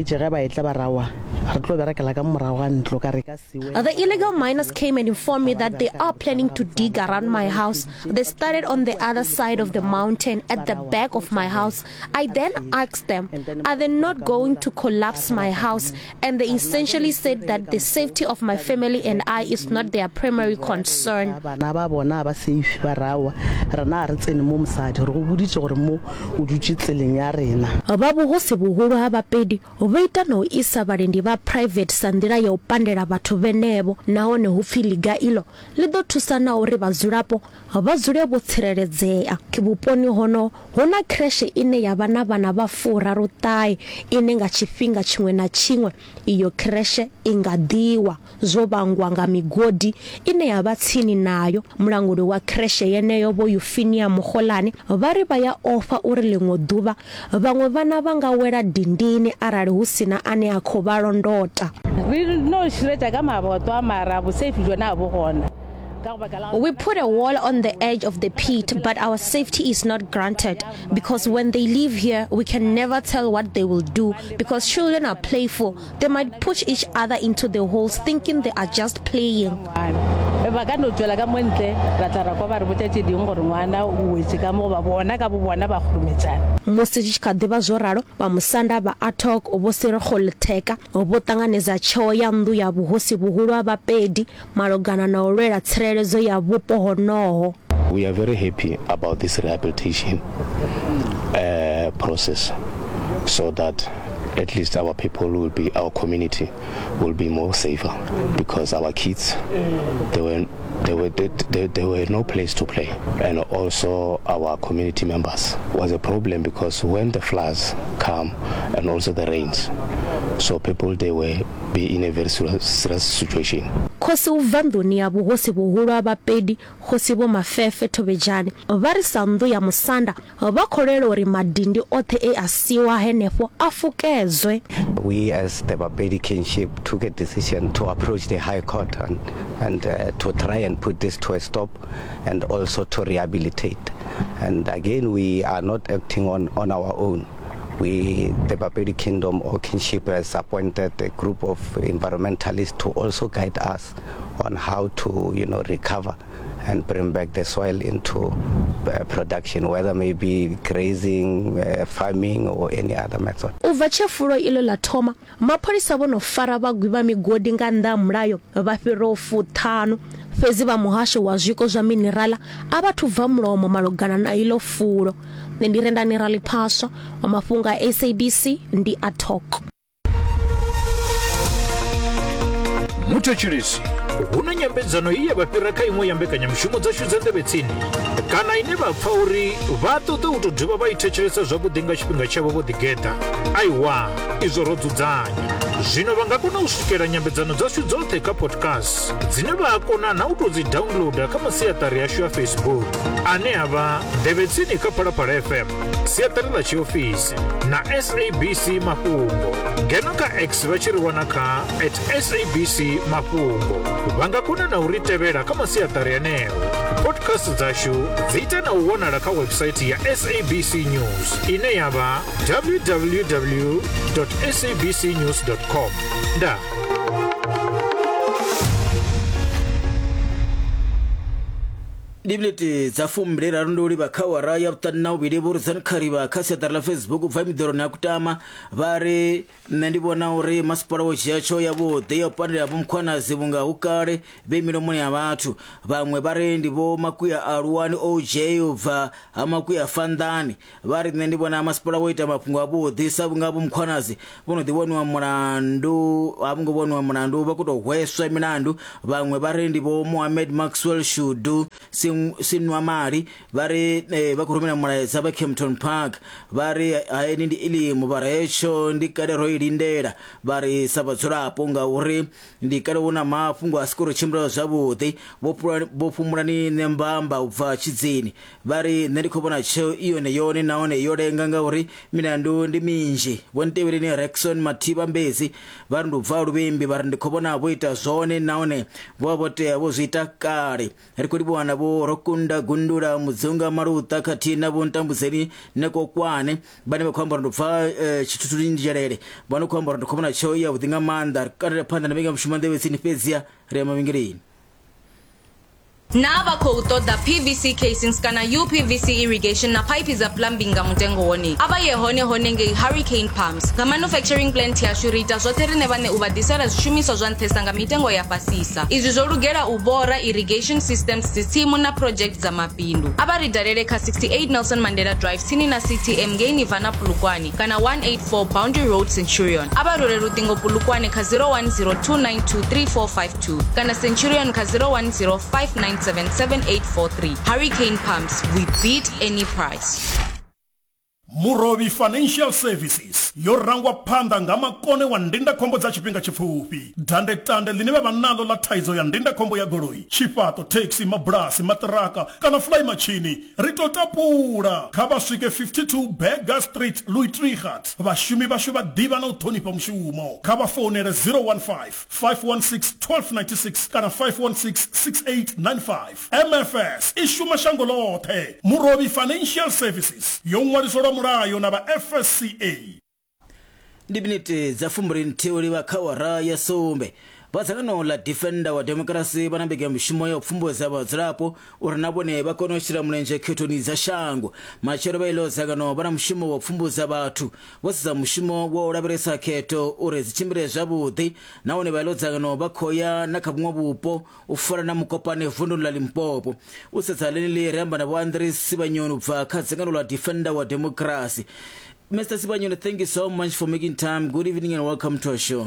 illegal miners came and informed me that they are planning to dig around my house. They started on the other side of the mountain at the back of my house. I then asked them, are they not going to collapse my house? And they essentially said that the safety of my family and I is not their primary concern. Vha vhuhosi vhuhulu ha Vhapedi vho ita na u isa vhalindi vha private sa nḓila ya u pandela vhathu vhenevho, nahone hu pfi ḽiga ilo ḽi ḓo thusa na uri vhadzulapo vha dzule vho tsireledzea. Vhuponi hono hu na creche ine ya vha na vhana vha furaru ṱahe ine nga tshifhinga tshiṅwe na tshiṅwe iyo creche i nga ḓiwa zwo vhangwa nga migodi ine ya vha tsini nayo. Mulanguli wa creche yeneyo vho Euphemia Mukholane vha ri vha ya ofha uri ḽiṅwe ḓuvha vhaṅwe vhana vha nga wela dindini arali hu sina ane a khou vha londota. We put a wall on the edge of the pit, but our safety is not granted because when they leave here, we can never tell what they will do because children are playful. They might push each other into the holes thinking they are just playing. Musi zwi tshi kha ḓivha zwo ralo, vha musanda vha Atok vho Serego Letheka vho ṱanganedza tsheo ya nnḓu ya vhuhosi vhuhulu ha Vhapedi malugana na u lwela tsireledzo ya vhupo honoho. We are very happy about this rehabilitation uh, process so that At least our people will be, our community will be more safer, because our kids, they were, they were, they, they, they were no place to play. And also our community members was a problem, because when the floods come and also the rains, so people, they were be in a very serious situation. Khosi u bva nḓuni ya vhuhosi vhuhulu ha Bapedi, Khosi Vho Mafefe Thobejane, vha ri sa nnḓu ya musanda vha kholela uri madindi oṱhe e a siwa henefho a fukedzwe. We as the Bapedi kinship took a decision to approach the High Court and, and uh, to try and put this to a stop, and also to rehabilitate. And again, we are not acting on, on our own. We, the Bapedi Kingdom or kinship, has appointed a group of environmentalists to also guide us on how to, you know, recover and bring back the soil into uh, production, whether maybe grazing, uh, farming or any other method. U bva tshe fulo ilo ḽa thoma, mapholisa vho no fara vhagwi vha migodi nga nnḓa ha mulayo vha fhiraho fuṱhanu, fhedzi vha muhasho wa zwiko zwa minerala a vha thu bva mulomo malugana na ilo fulo. Nṋe ndi Rendani Raliphaswa wa mafhungo a S A B C ndi a Talk. Muthetshelesi, hu na nyambedzano iyi ya vha fhira kha iṅwe ya mbekanyamushumo dzashu dza nḓevhe tsini, kana ine vha pfa uri vha ṱoḓa u tou dovha vha i thetshelesa zwavhuḓi nga tshifhinga tshavho vho ḓigeḓa. Aiwa, izwo ro dzudzanya. Zwino vha nga kona u swikela nyambedzano dzashu dzoṱhe kha podcast, dzine vha a kona na u tou dzi downloada kha masiaṱari ashu a Facebook, ane a vha Nḓevhe Tsini kha Phalaphala F M, siaṱari ḽa tshiofisi na S A B C Mafhungo. Ngeno kha X vha tshi ri wana kha at S A B C Mafhungo. Vha nga kona na u ri tevhela kha masiaṱari aneo. Podcast dzashu dzi ita na u wanala kha website ya S A B C News ine ya vha w w w dot s a b c news dot com. Nda. Ndi miniti dza fumbili raru ndi u livha kha awara ya vhuṱanu na vhuvhili. Vho Rudzani Kharivha kha siaṱari ḽa Facebook bva miḓoroni ya Kutama vha ri nṋe ndi vhona uri masipala wo dzhia tsheo yavhuḓi ya u pandela Vho Mkhwanazi vhunga hu kale vhe milomoni ya vhathu. Vhaṅwe vha ri ndi Vho Makuya Aluwani O J u bva ha Makuya Fanḓani vha ri nṋe ndi vhona masipala wo ita mafhungo avhuḓi sa vhunga Vho Mkhwanazi vho no ḓi vhoniwa mulandu, a vho ngo vhoniwa mulandu, vha khou tou hweswa milandu. Vhaṅwe vha ri ndi Vho Mohammed Maxwell Shudu Sinwamali vha ri eh, vha khou rumela mulaedza vha Kempton Park vha ri haeni ndi ilimu, vha ri hetsho ndi kale ro i lindela, vha ri sa vhadzulapo ngauri ndi kale hu na mafhungo a si khou tshimbila zwavhuḓi. Vho Fhumulani Nembamba u bva Tshidzini vha ri nṋe ndi khou vhona tsheo i yone yone nahone yo lenga ngauri milandu ndi minzhi. Vho Ntevheleni Rexon Mathiba Mbezi vha ri ndi u bva Luvhimbi vha ri ndi khou vhona vho ita zwone nahone vho vha vho tea vho zwi ita kale. Ri khou livhuwa na Vho Rokunda Gundula Mudzunga Maluta khathihi na Vho Ntambudzeni Nekokwane vhane vha khou amba uri ndi bva Tshithuthuni Nzhelele, vha no khou amba uri ndi khou vhona tsheo yavhuḓi nga maanḓa. Ri katela phanḓa na mbekanyamushumo nḓevhe tsini fhedziha ri ya mavhengeleni. Na vha khou ṱoḓa P V C casings kana U P V C irrigation na pipe dza plumbing nga mutengo wone, a vha ye hone hone ngei Hurricane Pumps. Nga manufacturing plant yashu ri ita zwoṱhe rine vhane u vha ḓisela zwishumiswa zwa nṱhesa nga mitengo ya fhasisa. Izwi zwo lugela u bora irrigation systems, dzitsimu na project dza mabindu. A vha ri dalele kha sixty-eight Nelson Mandela Drive tsini na C T M ngei Nirvana Polokwane kana one eight four Boundary Road Centurion. A vha rwele luṱingo Polokwane kha zero one zero two nine two three four five two kana Centurion kha zero one zero five nine seven seven eight four three. Hurricane Pumps, we beat any price. Murobi Financial Services yo rangwa phanḓa nga makone wa ndindakhombo dza tshifhinga tshipfufhi. Dandetande ḽine vha vha naḽo ḽa thaidzo ya ndindakhombo ya goloi, tshifhaṱo, taxi, mabulasi, maṱiraka kana fly machine ri to tapula. Kha vha swike fifty-two Berger Street, Louis Trichardt. Vhashumi vhashu vha ḓivha na u ṱhonifha mushumo. Kha vha founele zero one five, five one six, one two nine six kana five one six, six eight nine five. M F S i shuma shango ḽoṱhe. Murobi Financial Services yo ṅwaliselwa mulayo na vha F S C A. Ndi miniti dza fumbili nthihi u livha kha awara ya sumbe. Vha dzangano ḽa Defender wa Democracy vha na mbekanyamushumo ya u pfumbudza vhadzulapo uri na vhone vha kone u shela mulenzhe khethoni dza shango. Matshelo vha ilo dzangano vha na mushumo wa u pfumbudza vhathu vho sedza mushumo wa u lavhelesa khetho uri dzi tshimbile zwavhuḓi, nahone vha ilo dzangano vha khou ya na kha vhuṅwe vhupo u fana na Mukopane vunduni ḽa Limpopo. U sedza ḽeneḽi ri amba na Vho Andries Sibanyoni u bva kha dzangano ḽa Defender wa Democracy. Mister Sibanyoni, thank you so much for making time. Good evening and welcome to our show.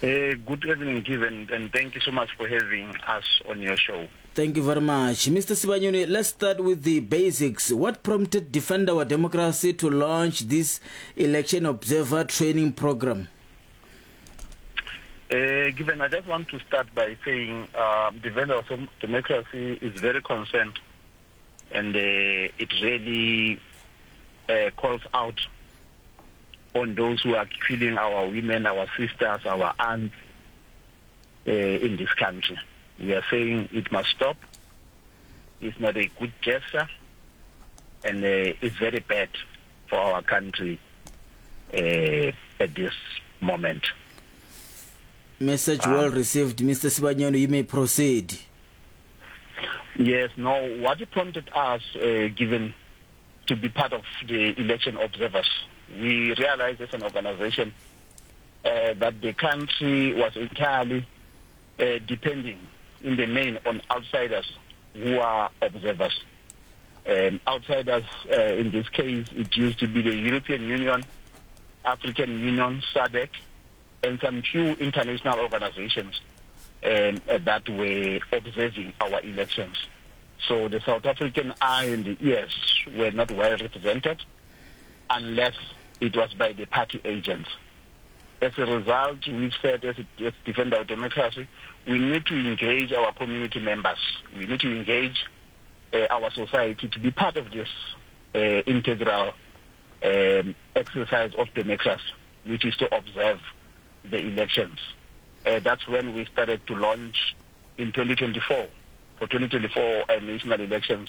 Uh, good evening, Given, and thank you so much for having us on your show. Thank you very much. Mister Sibanyoni, let's start with the basics. What prompted Defend Our Democracy to launch this Election Observer Training Program? Uh, Given, I just want to start by saying uh, Defend Our Democracy is very concerned, and uh, it really uh, calls out on those who are killing our women, our sisters, our aunts uh, in this country. We are saying it must stop. It's not a good gesture, and uh, it's very bad for our country uh, at this moment. Message well received, Mister Sibanyoni. You may proceed. Yes, no, what prompted us, uh, given to be part of the election observers, we realized as an organization uh, that the country was entirely uh, depending in the main on outsiders who are observers. Um, outsiders, uh, in this case, it used to be the European Union, African Union, SADC, and some few international organizations um, that were observing our elections. So the South African eye and the ears were not well represented unless it was by the party agents. As a result, we've said as, as Defend Our Democracy, we need to engage our community members. We need to engage uh, our society to be part of this uh, integral um, exercise of democracy, which is to observe the elections. Uh, that's when we started to launch in twenty twenty-four. For twenty twenty-four uh, national elections,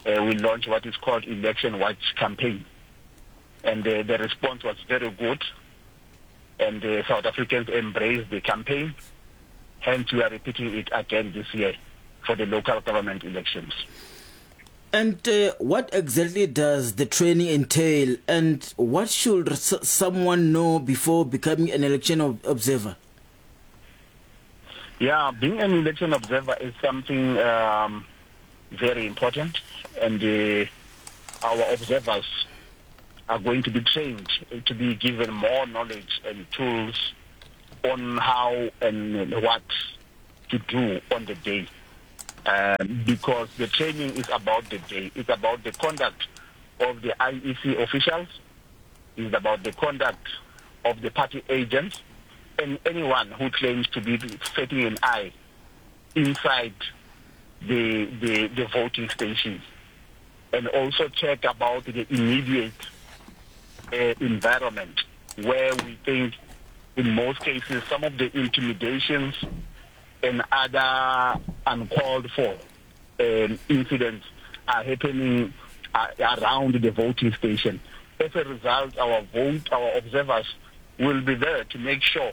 uh, we launched what is called Election Watch Campaign. And uh, the response was very good, and the South Africans embraced the campaign. Hence, we are repeating it again this year for the local government elections. And uh, what exactly does the training entail, and what should someone know before becoming an election observer? Yeah, being an election observer is something um, very important, and uh, our observers are going to be trained to be given more knowledge and tools on how and what to do on the day. Um, because the training is about the day. It's about the conduct of the I E C officials. It's about the conduct of the party agents and anyone who claims to be setting an eye inside the, the, the voting stations. And also check about the immediate Uh, environment where we think in most cases some of the intimidations and other uncalled for um, incidents are happening uh, around the voting station. As a result, our vote, our observers will be there to make sure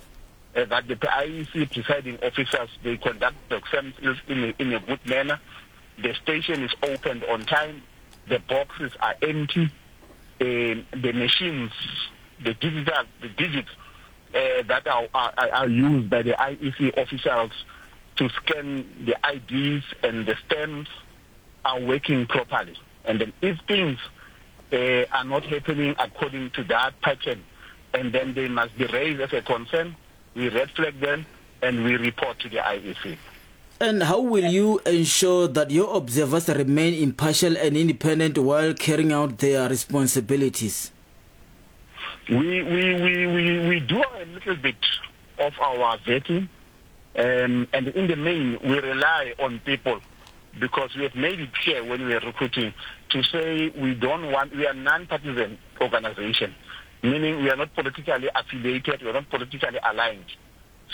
uh, that the I E C presiding officers, they conduct themselves in a, in a good manner. The station is opened on time. The boxes are empty. Uh, the machines, the digital, the digits uh, that are, are, are used by the I E C officials to scan the I Ds and the stamps are working properly. And then if things uh, are not happening according to that pattern, and then they must be raised as a concern, we red flag them and we report to the I E C. And how will you ensure that your observers remain impartial and independent while carrying out their responsibilities? We, we, we, we, we do a little bit of our vetting, um, and in the main, we rely on people because we have made it clear when we are recruiting to say we don't want, we are non-partisan organization, meaning we are not politically affiliated, we are not politically aligned.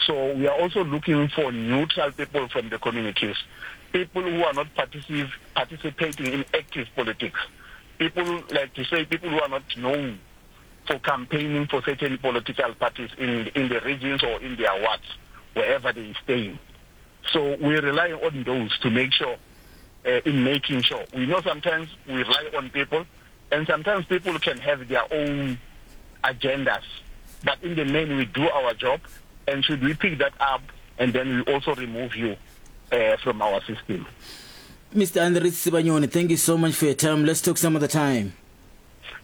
So we are also looking for neutral people from the communities, people who are not particip- participating in active politics, people, like to say, people who are not known for campaigning for certain political parties in, in the regions or in their wards, wherever they stay. So we rely on those to make sure, uh, in making sure. We know sometimes we rely on people, and sometimes people can have their own agendas. But in the main, we do our job, and should we pick that up, and then we also remove you uh, from our system. Mister Andries Sibanyoni, thank you so much for your time. Let's talk some other time.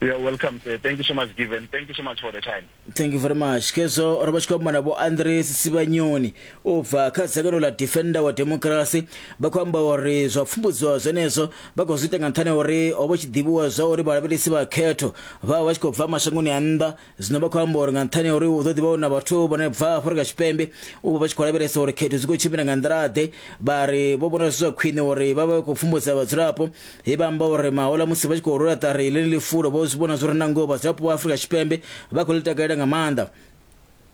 You are welcome, sir. Thank you so much, Given. Thank you so much for the time. Thank you very much. Kezo ro vha tshi khou amba na Vho Andres Sibanyoni u bva kha dzangano ḽa Defender wa Democracy. Vha khou amba uri zwa pfumbudziwa zwenezwo vha khou zwi ita nga nṱhani ha uri ho vha tshi ḓivhiwa zwa uri vhalavhelesi vha khetho vha vha tshi khou bva mashangoni a nnḓa. Zwino vha khou amba uri nga nṱhani ha uri hu ḓo ḓivha hu na vhathu vhane bva Afrika Tshipembe u vha vha tshi khou lavhelesa uri khetho dzi khou tshimbila nga nḓila-ḓe, vha ri vho vhona zwi zwa khwine uri vha vha khou pfumbudza vhadzulapo. He vha amba uri mahola musi vha tshi khou rwela ṱari ḽeneḽi fulo vho zwi vhona zwo ri na ngoho vhadzulapo vha Afrika Tshipembe vha khou ḽi takalela nga maanḓa.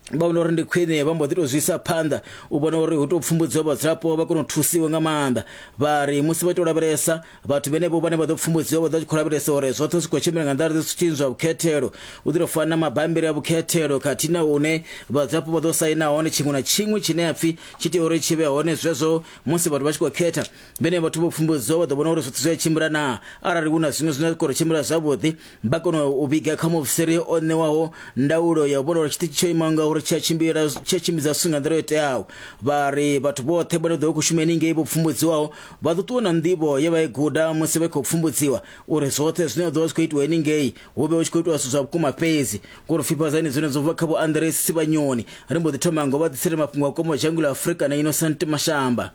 Vha vhona uri ndi khwine vha mbo ḓi tou zwi isa phanḓa u vhona uri hu tou pfumbudziwa vhadzulapo vha kone u thusiwa nga maanḓa. Vha ri musi vha tou lavhelesa vhathu vhenevho vhane vha ḓo pfumbudziwa vha ḓo khou lavhelesa uri zwoṱhe zwi khou tshimbila nga nḓila zwi zwa vhukhethelo, u ḓo fana na mabambiri a vhukhethelo khathihi na hune vhadzulapo vha ḓo saina hone tshiṅwe na tshiṅwe tshine ha pfi tshi tea uri tshi vhe hone. Zwezwo musi vhathu vha tshi khou khetha vhene vhathu vho pfumbudziwa vha ḓo vhona uri zwoṱhe zwi a tshimbila na, arali hu na zwiṅwe zwine zwa khou tshimbila zwavhuḓi vha kone u vhiga kha muofisiri o ṋewaho ndaulo ya u vhona uri tshiṱitshi tsho imaho nga uri tshi a tshimbila tshi a tshimbidza zwithu nga nḓila yo teaho. Vha ri vhathu vhoṱhe vhane ḓo khou shuma henengei vho pfumbudziwaho vha ḓo ṱuwa na nḓivho ye vha i guda musi vha khou pfumbudziwa uri zwoṱhe zwine zwa ḓo vha zwi khou itiwa henengei hu vhe hu tshi khou itiwa zwithu zwa vhukuma fhedzi. Ngori fhifhadzani zwine zwo bva kha Vho Andres Sibanyoni, ri mbo ḓi thoma ngo vha ḓisele mafhungo a komo dzhango ḽa Afrika na Innocent Mashamba.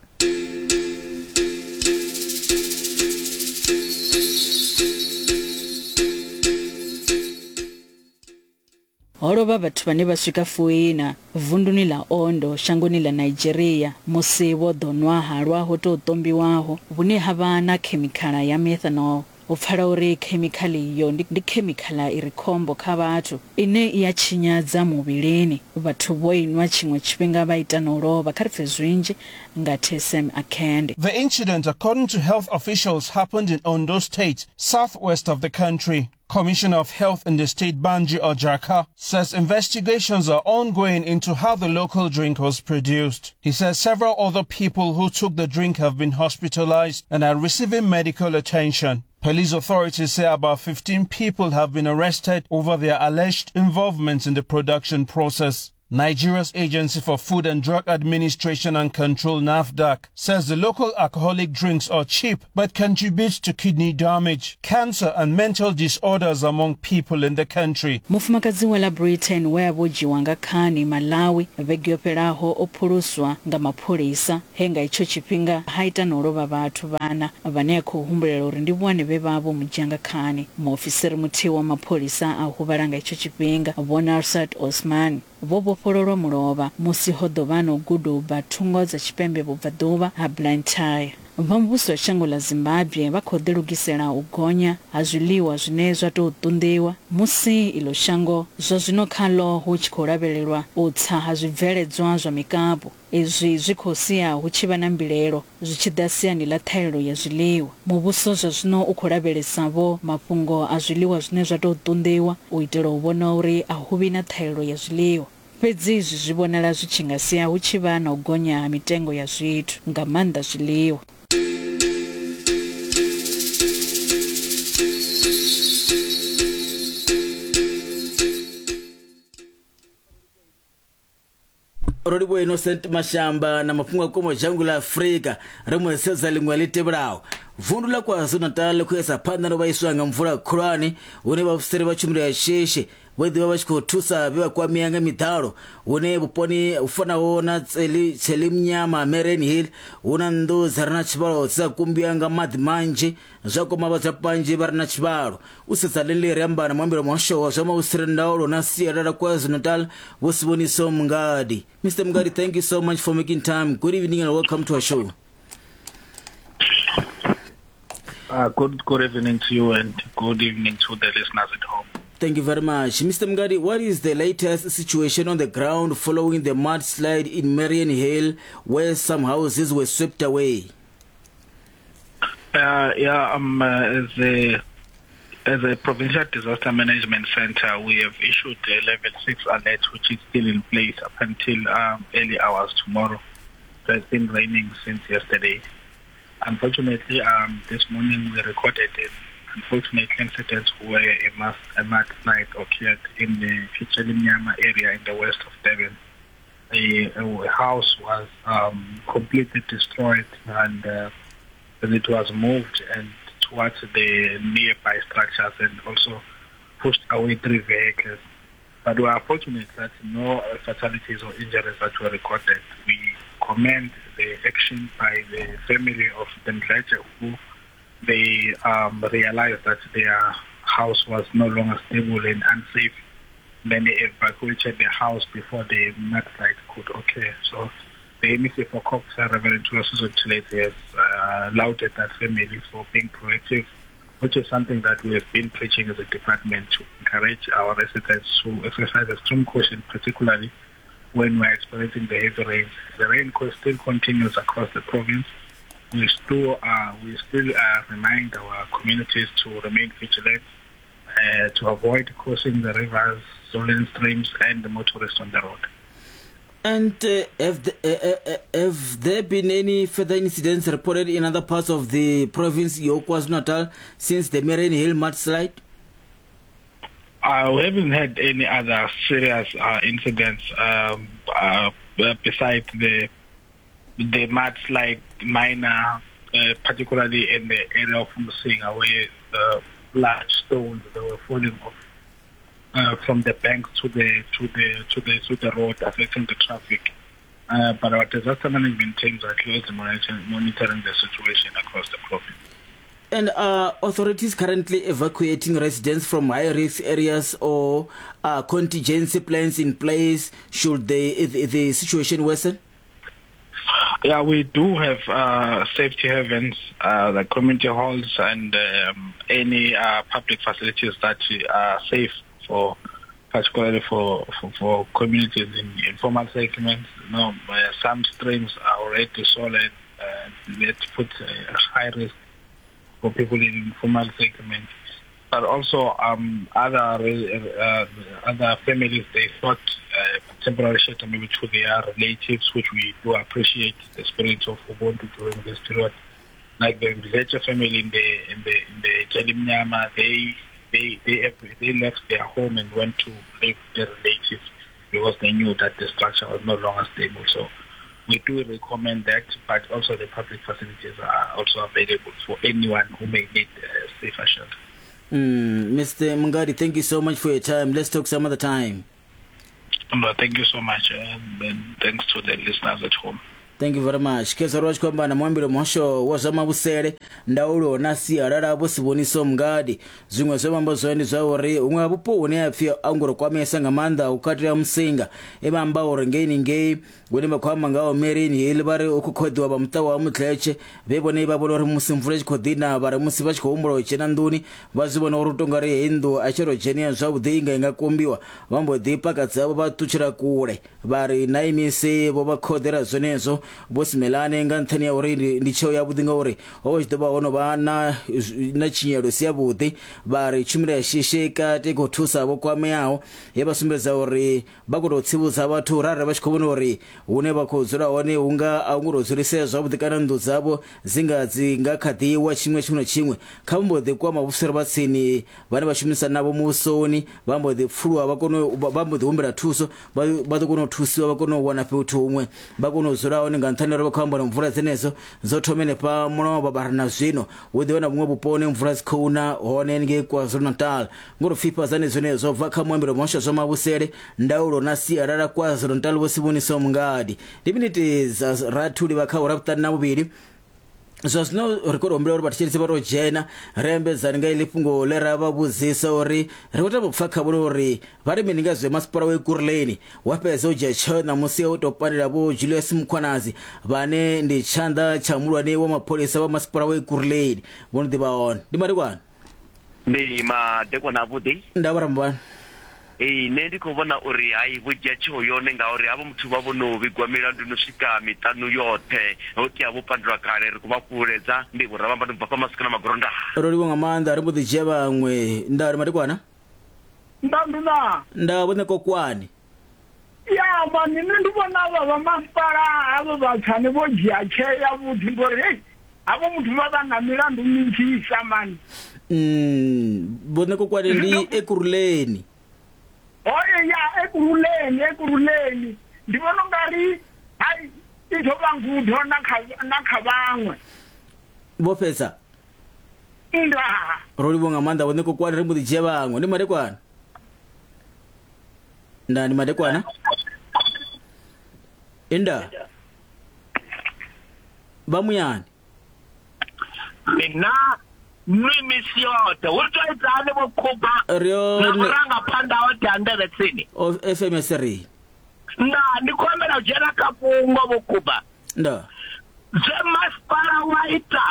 Ho lovha vhathu vhane vha swika fuina vunduni ḽa Ondo shangoni ḽa Nigeria musi vho ḓo nwa halwa ho tou ṱombiwaho vhune ha vha na khemikhala ya methanol. U pfala uri khemikhala iyo ndi khemikhala i re khombo kha vhathu ine i ya tshinyadza muvhilini. Vhathu vho inwa tshiṅwe tshifhinga vha ita na u lovha. Kha ri pfe zwinzhi nga T S M Akende. The incident, according to health officials, happened in Ondo State, southwest of the country. Commissioner of Health in the state, Banji Ojaka, says investigations are ongoing into how the local drink was produced. He says several other people who took the drink have been hospitalized and are receiving medical attention. Police authorities say about fifteen people have been arrested over their alleged involvement in the production process. Nigeria's Agency for Food and Drug Administration and Control, NAFDAC, says the local alcoholic drinks are cheap but contribute to kidney damage, cancer and mental disorders among people in the country. Mufumakadzi wa ḽa Britain we a vho dzhiwa nga khani Malawi vhege yo fhelaho o phuluswa nga mapholisa he nga itsho tshifhinga ha ita na u lovha vhathu vhana vhane a khou humbulela uri ndi vhone vhe vha vho mu dzhia nga khani. Muofisiri muthihi wa mapholisa a huvhala nga itsho tshifhinga, Vho Narsat Osman, vho vhofhololwa mulovha musi ho ḓo vha no guduba thungo dza tshipembe vhubvaḓuvha ha Blantyre. Vha muvhuso wa shango ḽa Zimbabwe vha khou ḓilugisela u gonya ha zwiḽiwa zwine zwa tou ṱunḓiwa musi iḽo shango zwa zwino khaḽo hu tshi khou lavhelelwa u tsa ha zwibveledzwa zwa mikapu. Izwi zwi khou sia hu tshi vha na mbilaelo zwi tshi ḓa siani ḽa ṱhahelelo ya zwiḽiwa. Muvhuso zwa zwino u khou lavhelesa vho mafhungo a zwiḽiwa zwine zwa tou ṱunḓiwa u itela u vhona uri a hu vhi na ṱhahelelo ya zwiḽiwa. Fhedzi izwi zwi vhonala zwi tshi nga sia hu tshi vha na u gonya ha mitengo ya zwithu, nga maanḓa zwiḽiwa. Rolibo Innocent Mashamba na mafhungo a komo dzhango ḽa Afrika ri mu sedza ḽiṅwe ḽi tevhelaho. Vundu ḽa KwaZulu-Natal ḽi khou isa phanḓa no vhaiswa nga mvula khulwane hune vhaofisiri vha tshumelo ya shishi vho ḓivha vha tshi khou thusa vhe vha kwamea nga miḓalo hune vhuponi hu fanaho na Tselimnyama Mariannhill hu na nnḓu dza re na tshivhalo dzi sa kumbiwa nga maḓi manzhi zwa kwama vhadzulapo vhanzhi vha re na tshivhalo. U sedza ḽeneḽi ri amba na muambeli wa muhasho wa zwa mavhusele ndaulo na sialala KwaZulu-Natal Vho Siboniso Mngadi. Mister Mngadi, thank you so much for making time. Good evening and welcome to our show. Uh, good, good evening to you and good evening to the listeners at home. Thank you very much. Mister Mngadi, what is the latest situation on the ground following the mudslide in Mariannhill where some houses were swept away? Uh, yeah, um, uh, as a as a Provincial Disaster Management Center, we have issued a level six alert, which is still in place up until um, early hours tomorrow. It has been raining since yesterday. Unfortunately, um, this morning we recorded an unfortunate incident where a mass a mudslide occurred in the Tselimnyama area in the west of Durban. A, a house was um, completely destroyed, and uh, it was moved and towards the nearby structures, and also pushed away three vehicles. But we are fortunate that no fatalities or injuries that were recorded. We commend the action by the family of the Mdletshe, who they um, realized that their house was no longer stable and unsafe. Then they evacuated the house before the mudslide could occur. So the M E C for COGHSA, Reverend Thulasizwe Buthelezi, has uh, lauded that family for being proactive, which is something that we have been preaching as a department to encourage our residents to exercise extreme caution, particularly when we're experiencing the heavy rains. The rain still continues across the province. We still, uh, we still uh, remind our communities to remain vigilant, uh, to avoid crossing the rivers, swollen streams, and the motorists on the road. And uh, have, the, uh, uh, have there been any further incidents reported in other parts of the province, KwaZulu-Natal, since the Mariannhill mudslide? Uh, we haven't had any other serious uh, incidents um, uh, besides the the mudslide minor, uh, particularly in the area of Msinga, where the large stones that were falling off Uh, from the banks to the to the to the to the road, affecting the traffic. Uh, but our disaster management teams are closely monitoring, monitoring the situation across the province. And are authorities currently evacuating residents from high-risk areas, or are contingency plans in place should the the, the situation worsen? Yeah, we do have uh, safety havens, uh, the community halls, and um, any uh, public facilities that are safe for, particularly for, for, for communities in informal settlements. You know, some streams are already solid. Uh, that put a high risk for people in informal settlements. But also um, other uh, other families, they sought uh, temporary shelter maybe to their relatives, which we do appreciate the spirit of Ubuntu during this period. Like the Mdletshe family in the in the in the Jelimnyama, they They they they left their home and went to live with their relatives because they knew that the structure was no longer stable. So we do recommend that, but also the public facilities are also available for anyone who may need a safer shelter. Mm, Mister Mngadi, thank you so much for your time. Let's talk some other time. No, thank you so much, and, and thanks to the listeners at home. Thank you very much. Khezwo ri vha tshi khou amba na muambeli muhasho wa zwa mavhusele, ndaulo na sialala Vho Siboniso Mngadi. Zwiṅwe zwe vha amba zwone ndi zwa uri huṅwe ha vhupo hune ha pfhi a ngo ri kwamesa nga maanḓa hu katela Msinga, e vha amba uri ngeini ngei hune vha khou amba ngaho Mariannhill vha ri hu khou khoḓiwa vha muṱa wa Mdletshe, vhe vhone vha vhona uri musi mvula i tshi khou ḓi na, vha ri musi vha tshi khou humbula u dzhena nḓuni vha zwi vhona uri u tonga ri heyi nnḓu a tshi ro dzhenia zwavhuḓi i nga i nga kumbiwa, vha mbo ḓi paka dzavho vha ṱutshela kule. Vha ri na imisi vho vha khoḓela zwenezwo Vho Simelane nga nṱhani ya uri ndi tsheo yavhuḓi ngauri ho vha tshi ḓo vha ho no vha na na tshinyelo si yavhuḓi. Vha ri tshumelo ya shishi kati i khou thusa vho kwameaho, ye vha sumbedza uri vha khou tou tsivhudza vhathu uri arali vha tshi khou vhona uri hune vha khou dzula hone hu nga a hu ngo tou dzulisea zwavhuḓi kana nnḓu dzavho dzi nga dzi nga kha ḓiwa tshiṅwe tshiṅwe na tshiṅwe, kha vha mbo ḓi kwama vhufuseri vha tsini vhane vha shumisa navho muvhusoni, vha mbo ḓi pfuluwa vha kone vha mbo ḓi humbela thuso, vha ḓo kona u thusiwa vha kone u wana fhethu huṅwe vha kone u dzula hone. Nga nṱhani uri vha khou amba mvula dzenedzo dzo thoma henefha mulovha vha na zwino hu ḓi vha na vhuṅwe vhuponi mvula dzi khou na hone ngei KwaZulu-Natal. Ngori pfifhadzani zwenezwo bva kha muambeli muhasho zwa mavhusele, ndaulo na sialala KwaZulu-Natal Vho Siboniso Mngadi. Ndi miniti dza rathi u livha kha awara vhuṱanu na vhuvhili. Zwa zwino ri khou humbela uri vhathetshelesi vha tou dzhena ri ambedzane nga iḽi fhungo ḽe ra vha vhudzisa uri ri khou tama u pfha kha vhone uri vha ri mini nga zwe masipala wa Ekurhuleni wa fhedza u dzhia tsheo ṋamusi u tou pandela Vho Julius Mkhwanazi vhane ndi tshanḓa tsha muhulwane wa mapholisa wa masipala wa Ekurhuleni. Vho no ḓivha hone ndi madekwana. Ndi madekwana avhuḓi. Nda vha rambani. Ee, nṋe ndi khou vhona uri hai vho dzhia tsheo yone ngauri havho muthu vha vho no vhigwa milandu no swika miṱanu yoṱhe ho tea vho pandulwa kale, ri khou vha fhululedza. Ndi vho Ravhamba ndi bva fha Masikana Magoronda. Ro livhuwa nga maanḓa, ri mbo ḓi dzhia vhaṅwe. Nda ri madekwana. Nda nduna. Nda vhone kokwani. Ya mani nṋe ndi vhona avha vha masipala havho vhatshani vho dzhia tsheo yavhuḓi ngori hei havho muthu vha vha na milandu minzhisa mani. Mm, vhone kokwani ndi Ekurhuleni. Oye ya Ekurhuleni Ekurhuleni ndi vhona ungari hai i ḓo vha ngudo na kha na kha vhaṅwe. Vho fhedza. Ndaa. Ro livhuwa nga maanḓa vho Ṋekokwane, ri mbo ḓi dzhia vhaṅwe. Ndi madekwana. Ndaa, ndi madekwana. Inda. Vha muyani. Mina nwi misi yoṱhe hu tou itani vho Khuba Ri na hone. vhurangaphanḓa hoṱhe ha nḓevhe tsini. O F M S ri. Ndaa, ndi khou humbela u dzhena kha fhungo vho Khuba. Ndaa. Zwe masipala wa ita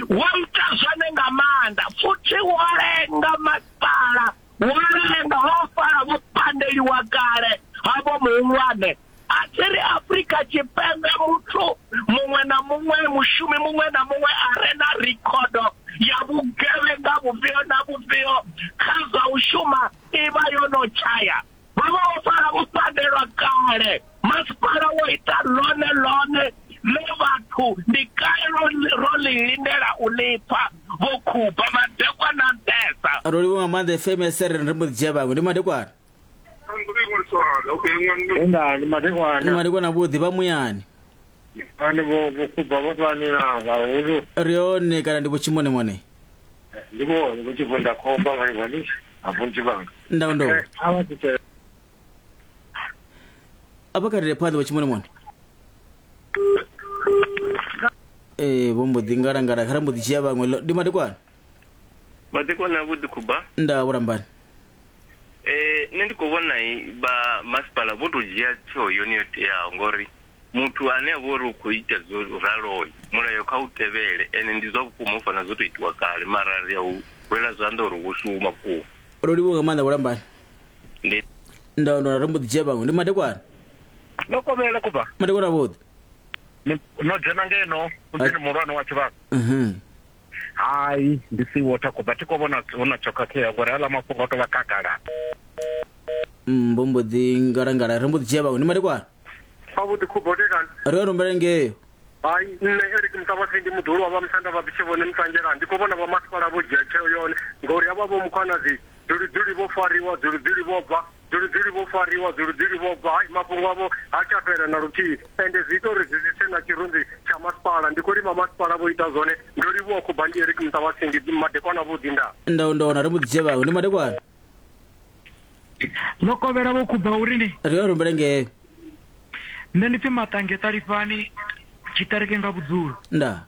wo ita zwone nga maanḓa, futhi wo lenga masipala, wo lenga ho fara vho pandeliwa kale havho muhulwane. A thi ri Afrika Tshipembe muthu muṅwe na muṅwe, mushumi muṅwe na muṅwe a re na rikhodo ya vhugevhenga vhufhio na vhufhio kha zwa u shuma i vha yo no tshaya. Vha vha vho fara vho pandelwa kale. Masipala wo ita ḽone ḽone ḽe vhathu ndi kale ro ḽi lindela u ḽi pfa vho Khuba madekwana nṱhesa. Ro livhuwa nga maanḓa F M S ri ri mbo ḓi dzhia vhaṅwe. Ndi madekwana. Ndaa, ndi madekwana. Ndi madekwana vhuḓi vha muyani. Vhane vho vho Khuba vho fani na vhahulu. Ri hone kana ndi vho Tshimonimone? Ndi vhone vho Tshivenda khomba vha vhani a vhanga. Ndau ndo. A vha tshi Apa kha ri phanḓa vho Tshimonimone. Eh vho mbo ḓi ngalangala kha ri mbo ḓi dzhia vhaṅwe. Ndi madekwana. Madekwana vhuḓi Khuba. Ndaa vhurambani. Eh nṋe ndi khou vhona vha masipala vho to dzhia tsheo yone yo teaho, ngori muthu ane a vha uri u khou ita zwo raloho mulayo kha u tevhele, ene ndi zwa vhukuma u fana zwo to itiwa kale, mara ri a u rwela zwanḓa uri wo shuma vhukuma. Ro livhuwa nga maanḓa vhurambani. Ndi Ndau ndo ri mbo ḓi dzhia vhaṅwe. Ndi madekwana. No kovhela Khuba. Madekwana vhuḓi. No dzhena ngeno muḓini muhulwane wa tshivhanga. Mhm. Hai, ndi si water Khuba, thi khou vhona huna tsho khakhea ngori haḽa mafhungo o tou vha khagala. Mm, vho mbo ḓi ngalangala ri mbo ḓi dzhia vhaṅwe. Ndi madekwana. Avhuḓi Khuba, u tekani? Ri yo rumbela ngeyo. Hai, nṋe Eric Mutavhasi ndi muḓulu wa vha Musanda vha Bitshivhone Muṱanzhelani. Ndi khou vhona vha masipala vho dzhia tsheo yone ngori havha vho Mkhwanazi dzuli-dzuli vho fariwa, dzuli-dzuli vho bva, dzuli-dzuli vho fariwa, dzuli-dzuli vho bva. Hai, mafhungo avho ha tsha fhela na luthihi, ende zwi ita uri zwi si tshe na tshirunzi tsha masipala. Ndi khou lima masipala vho ita zwone. Ndo livhuwa Khuba, ndi Eric Mutavhasi, ndi madekwana vhuḓi. Ndaa. Ndau ndo ri mbo ḓi dzhia vhaṅwe. Ndi madekwana. Ḽo kovhela vho Khuba uri ni Ri yo rumbela ngeyo. Nṋe ndi pfi Maṱange Ṱalifhani tshiṱereke nga vhudzulo. Ndaa.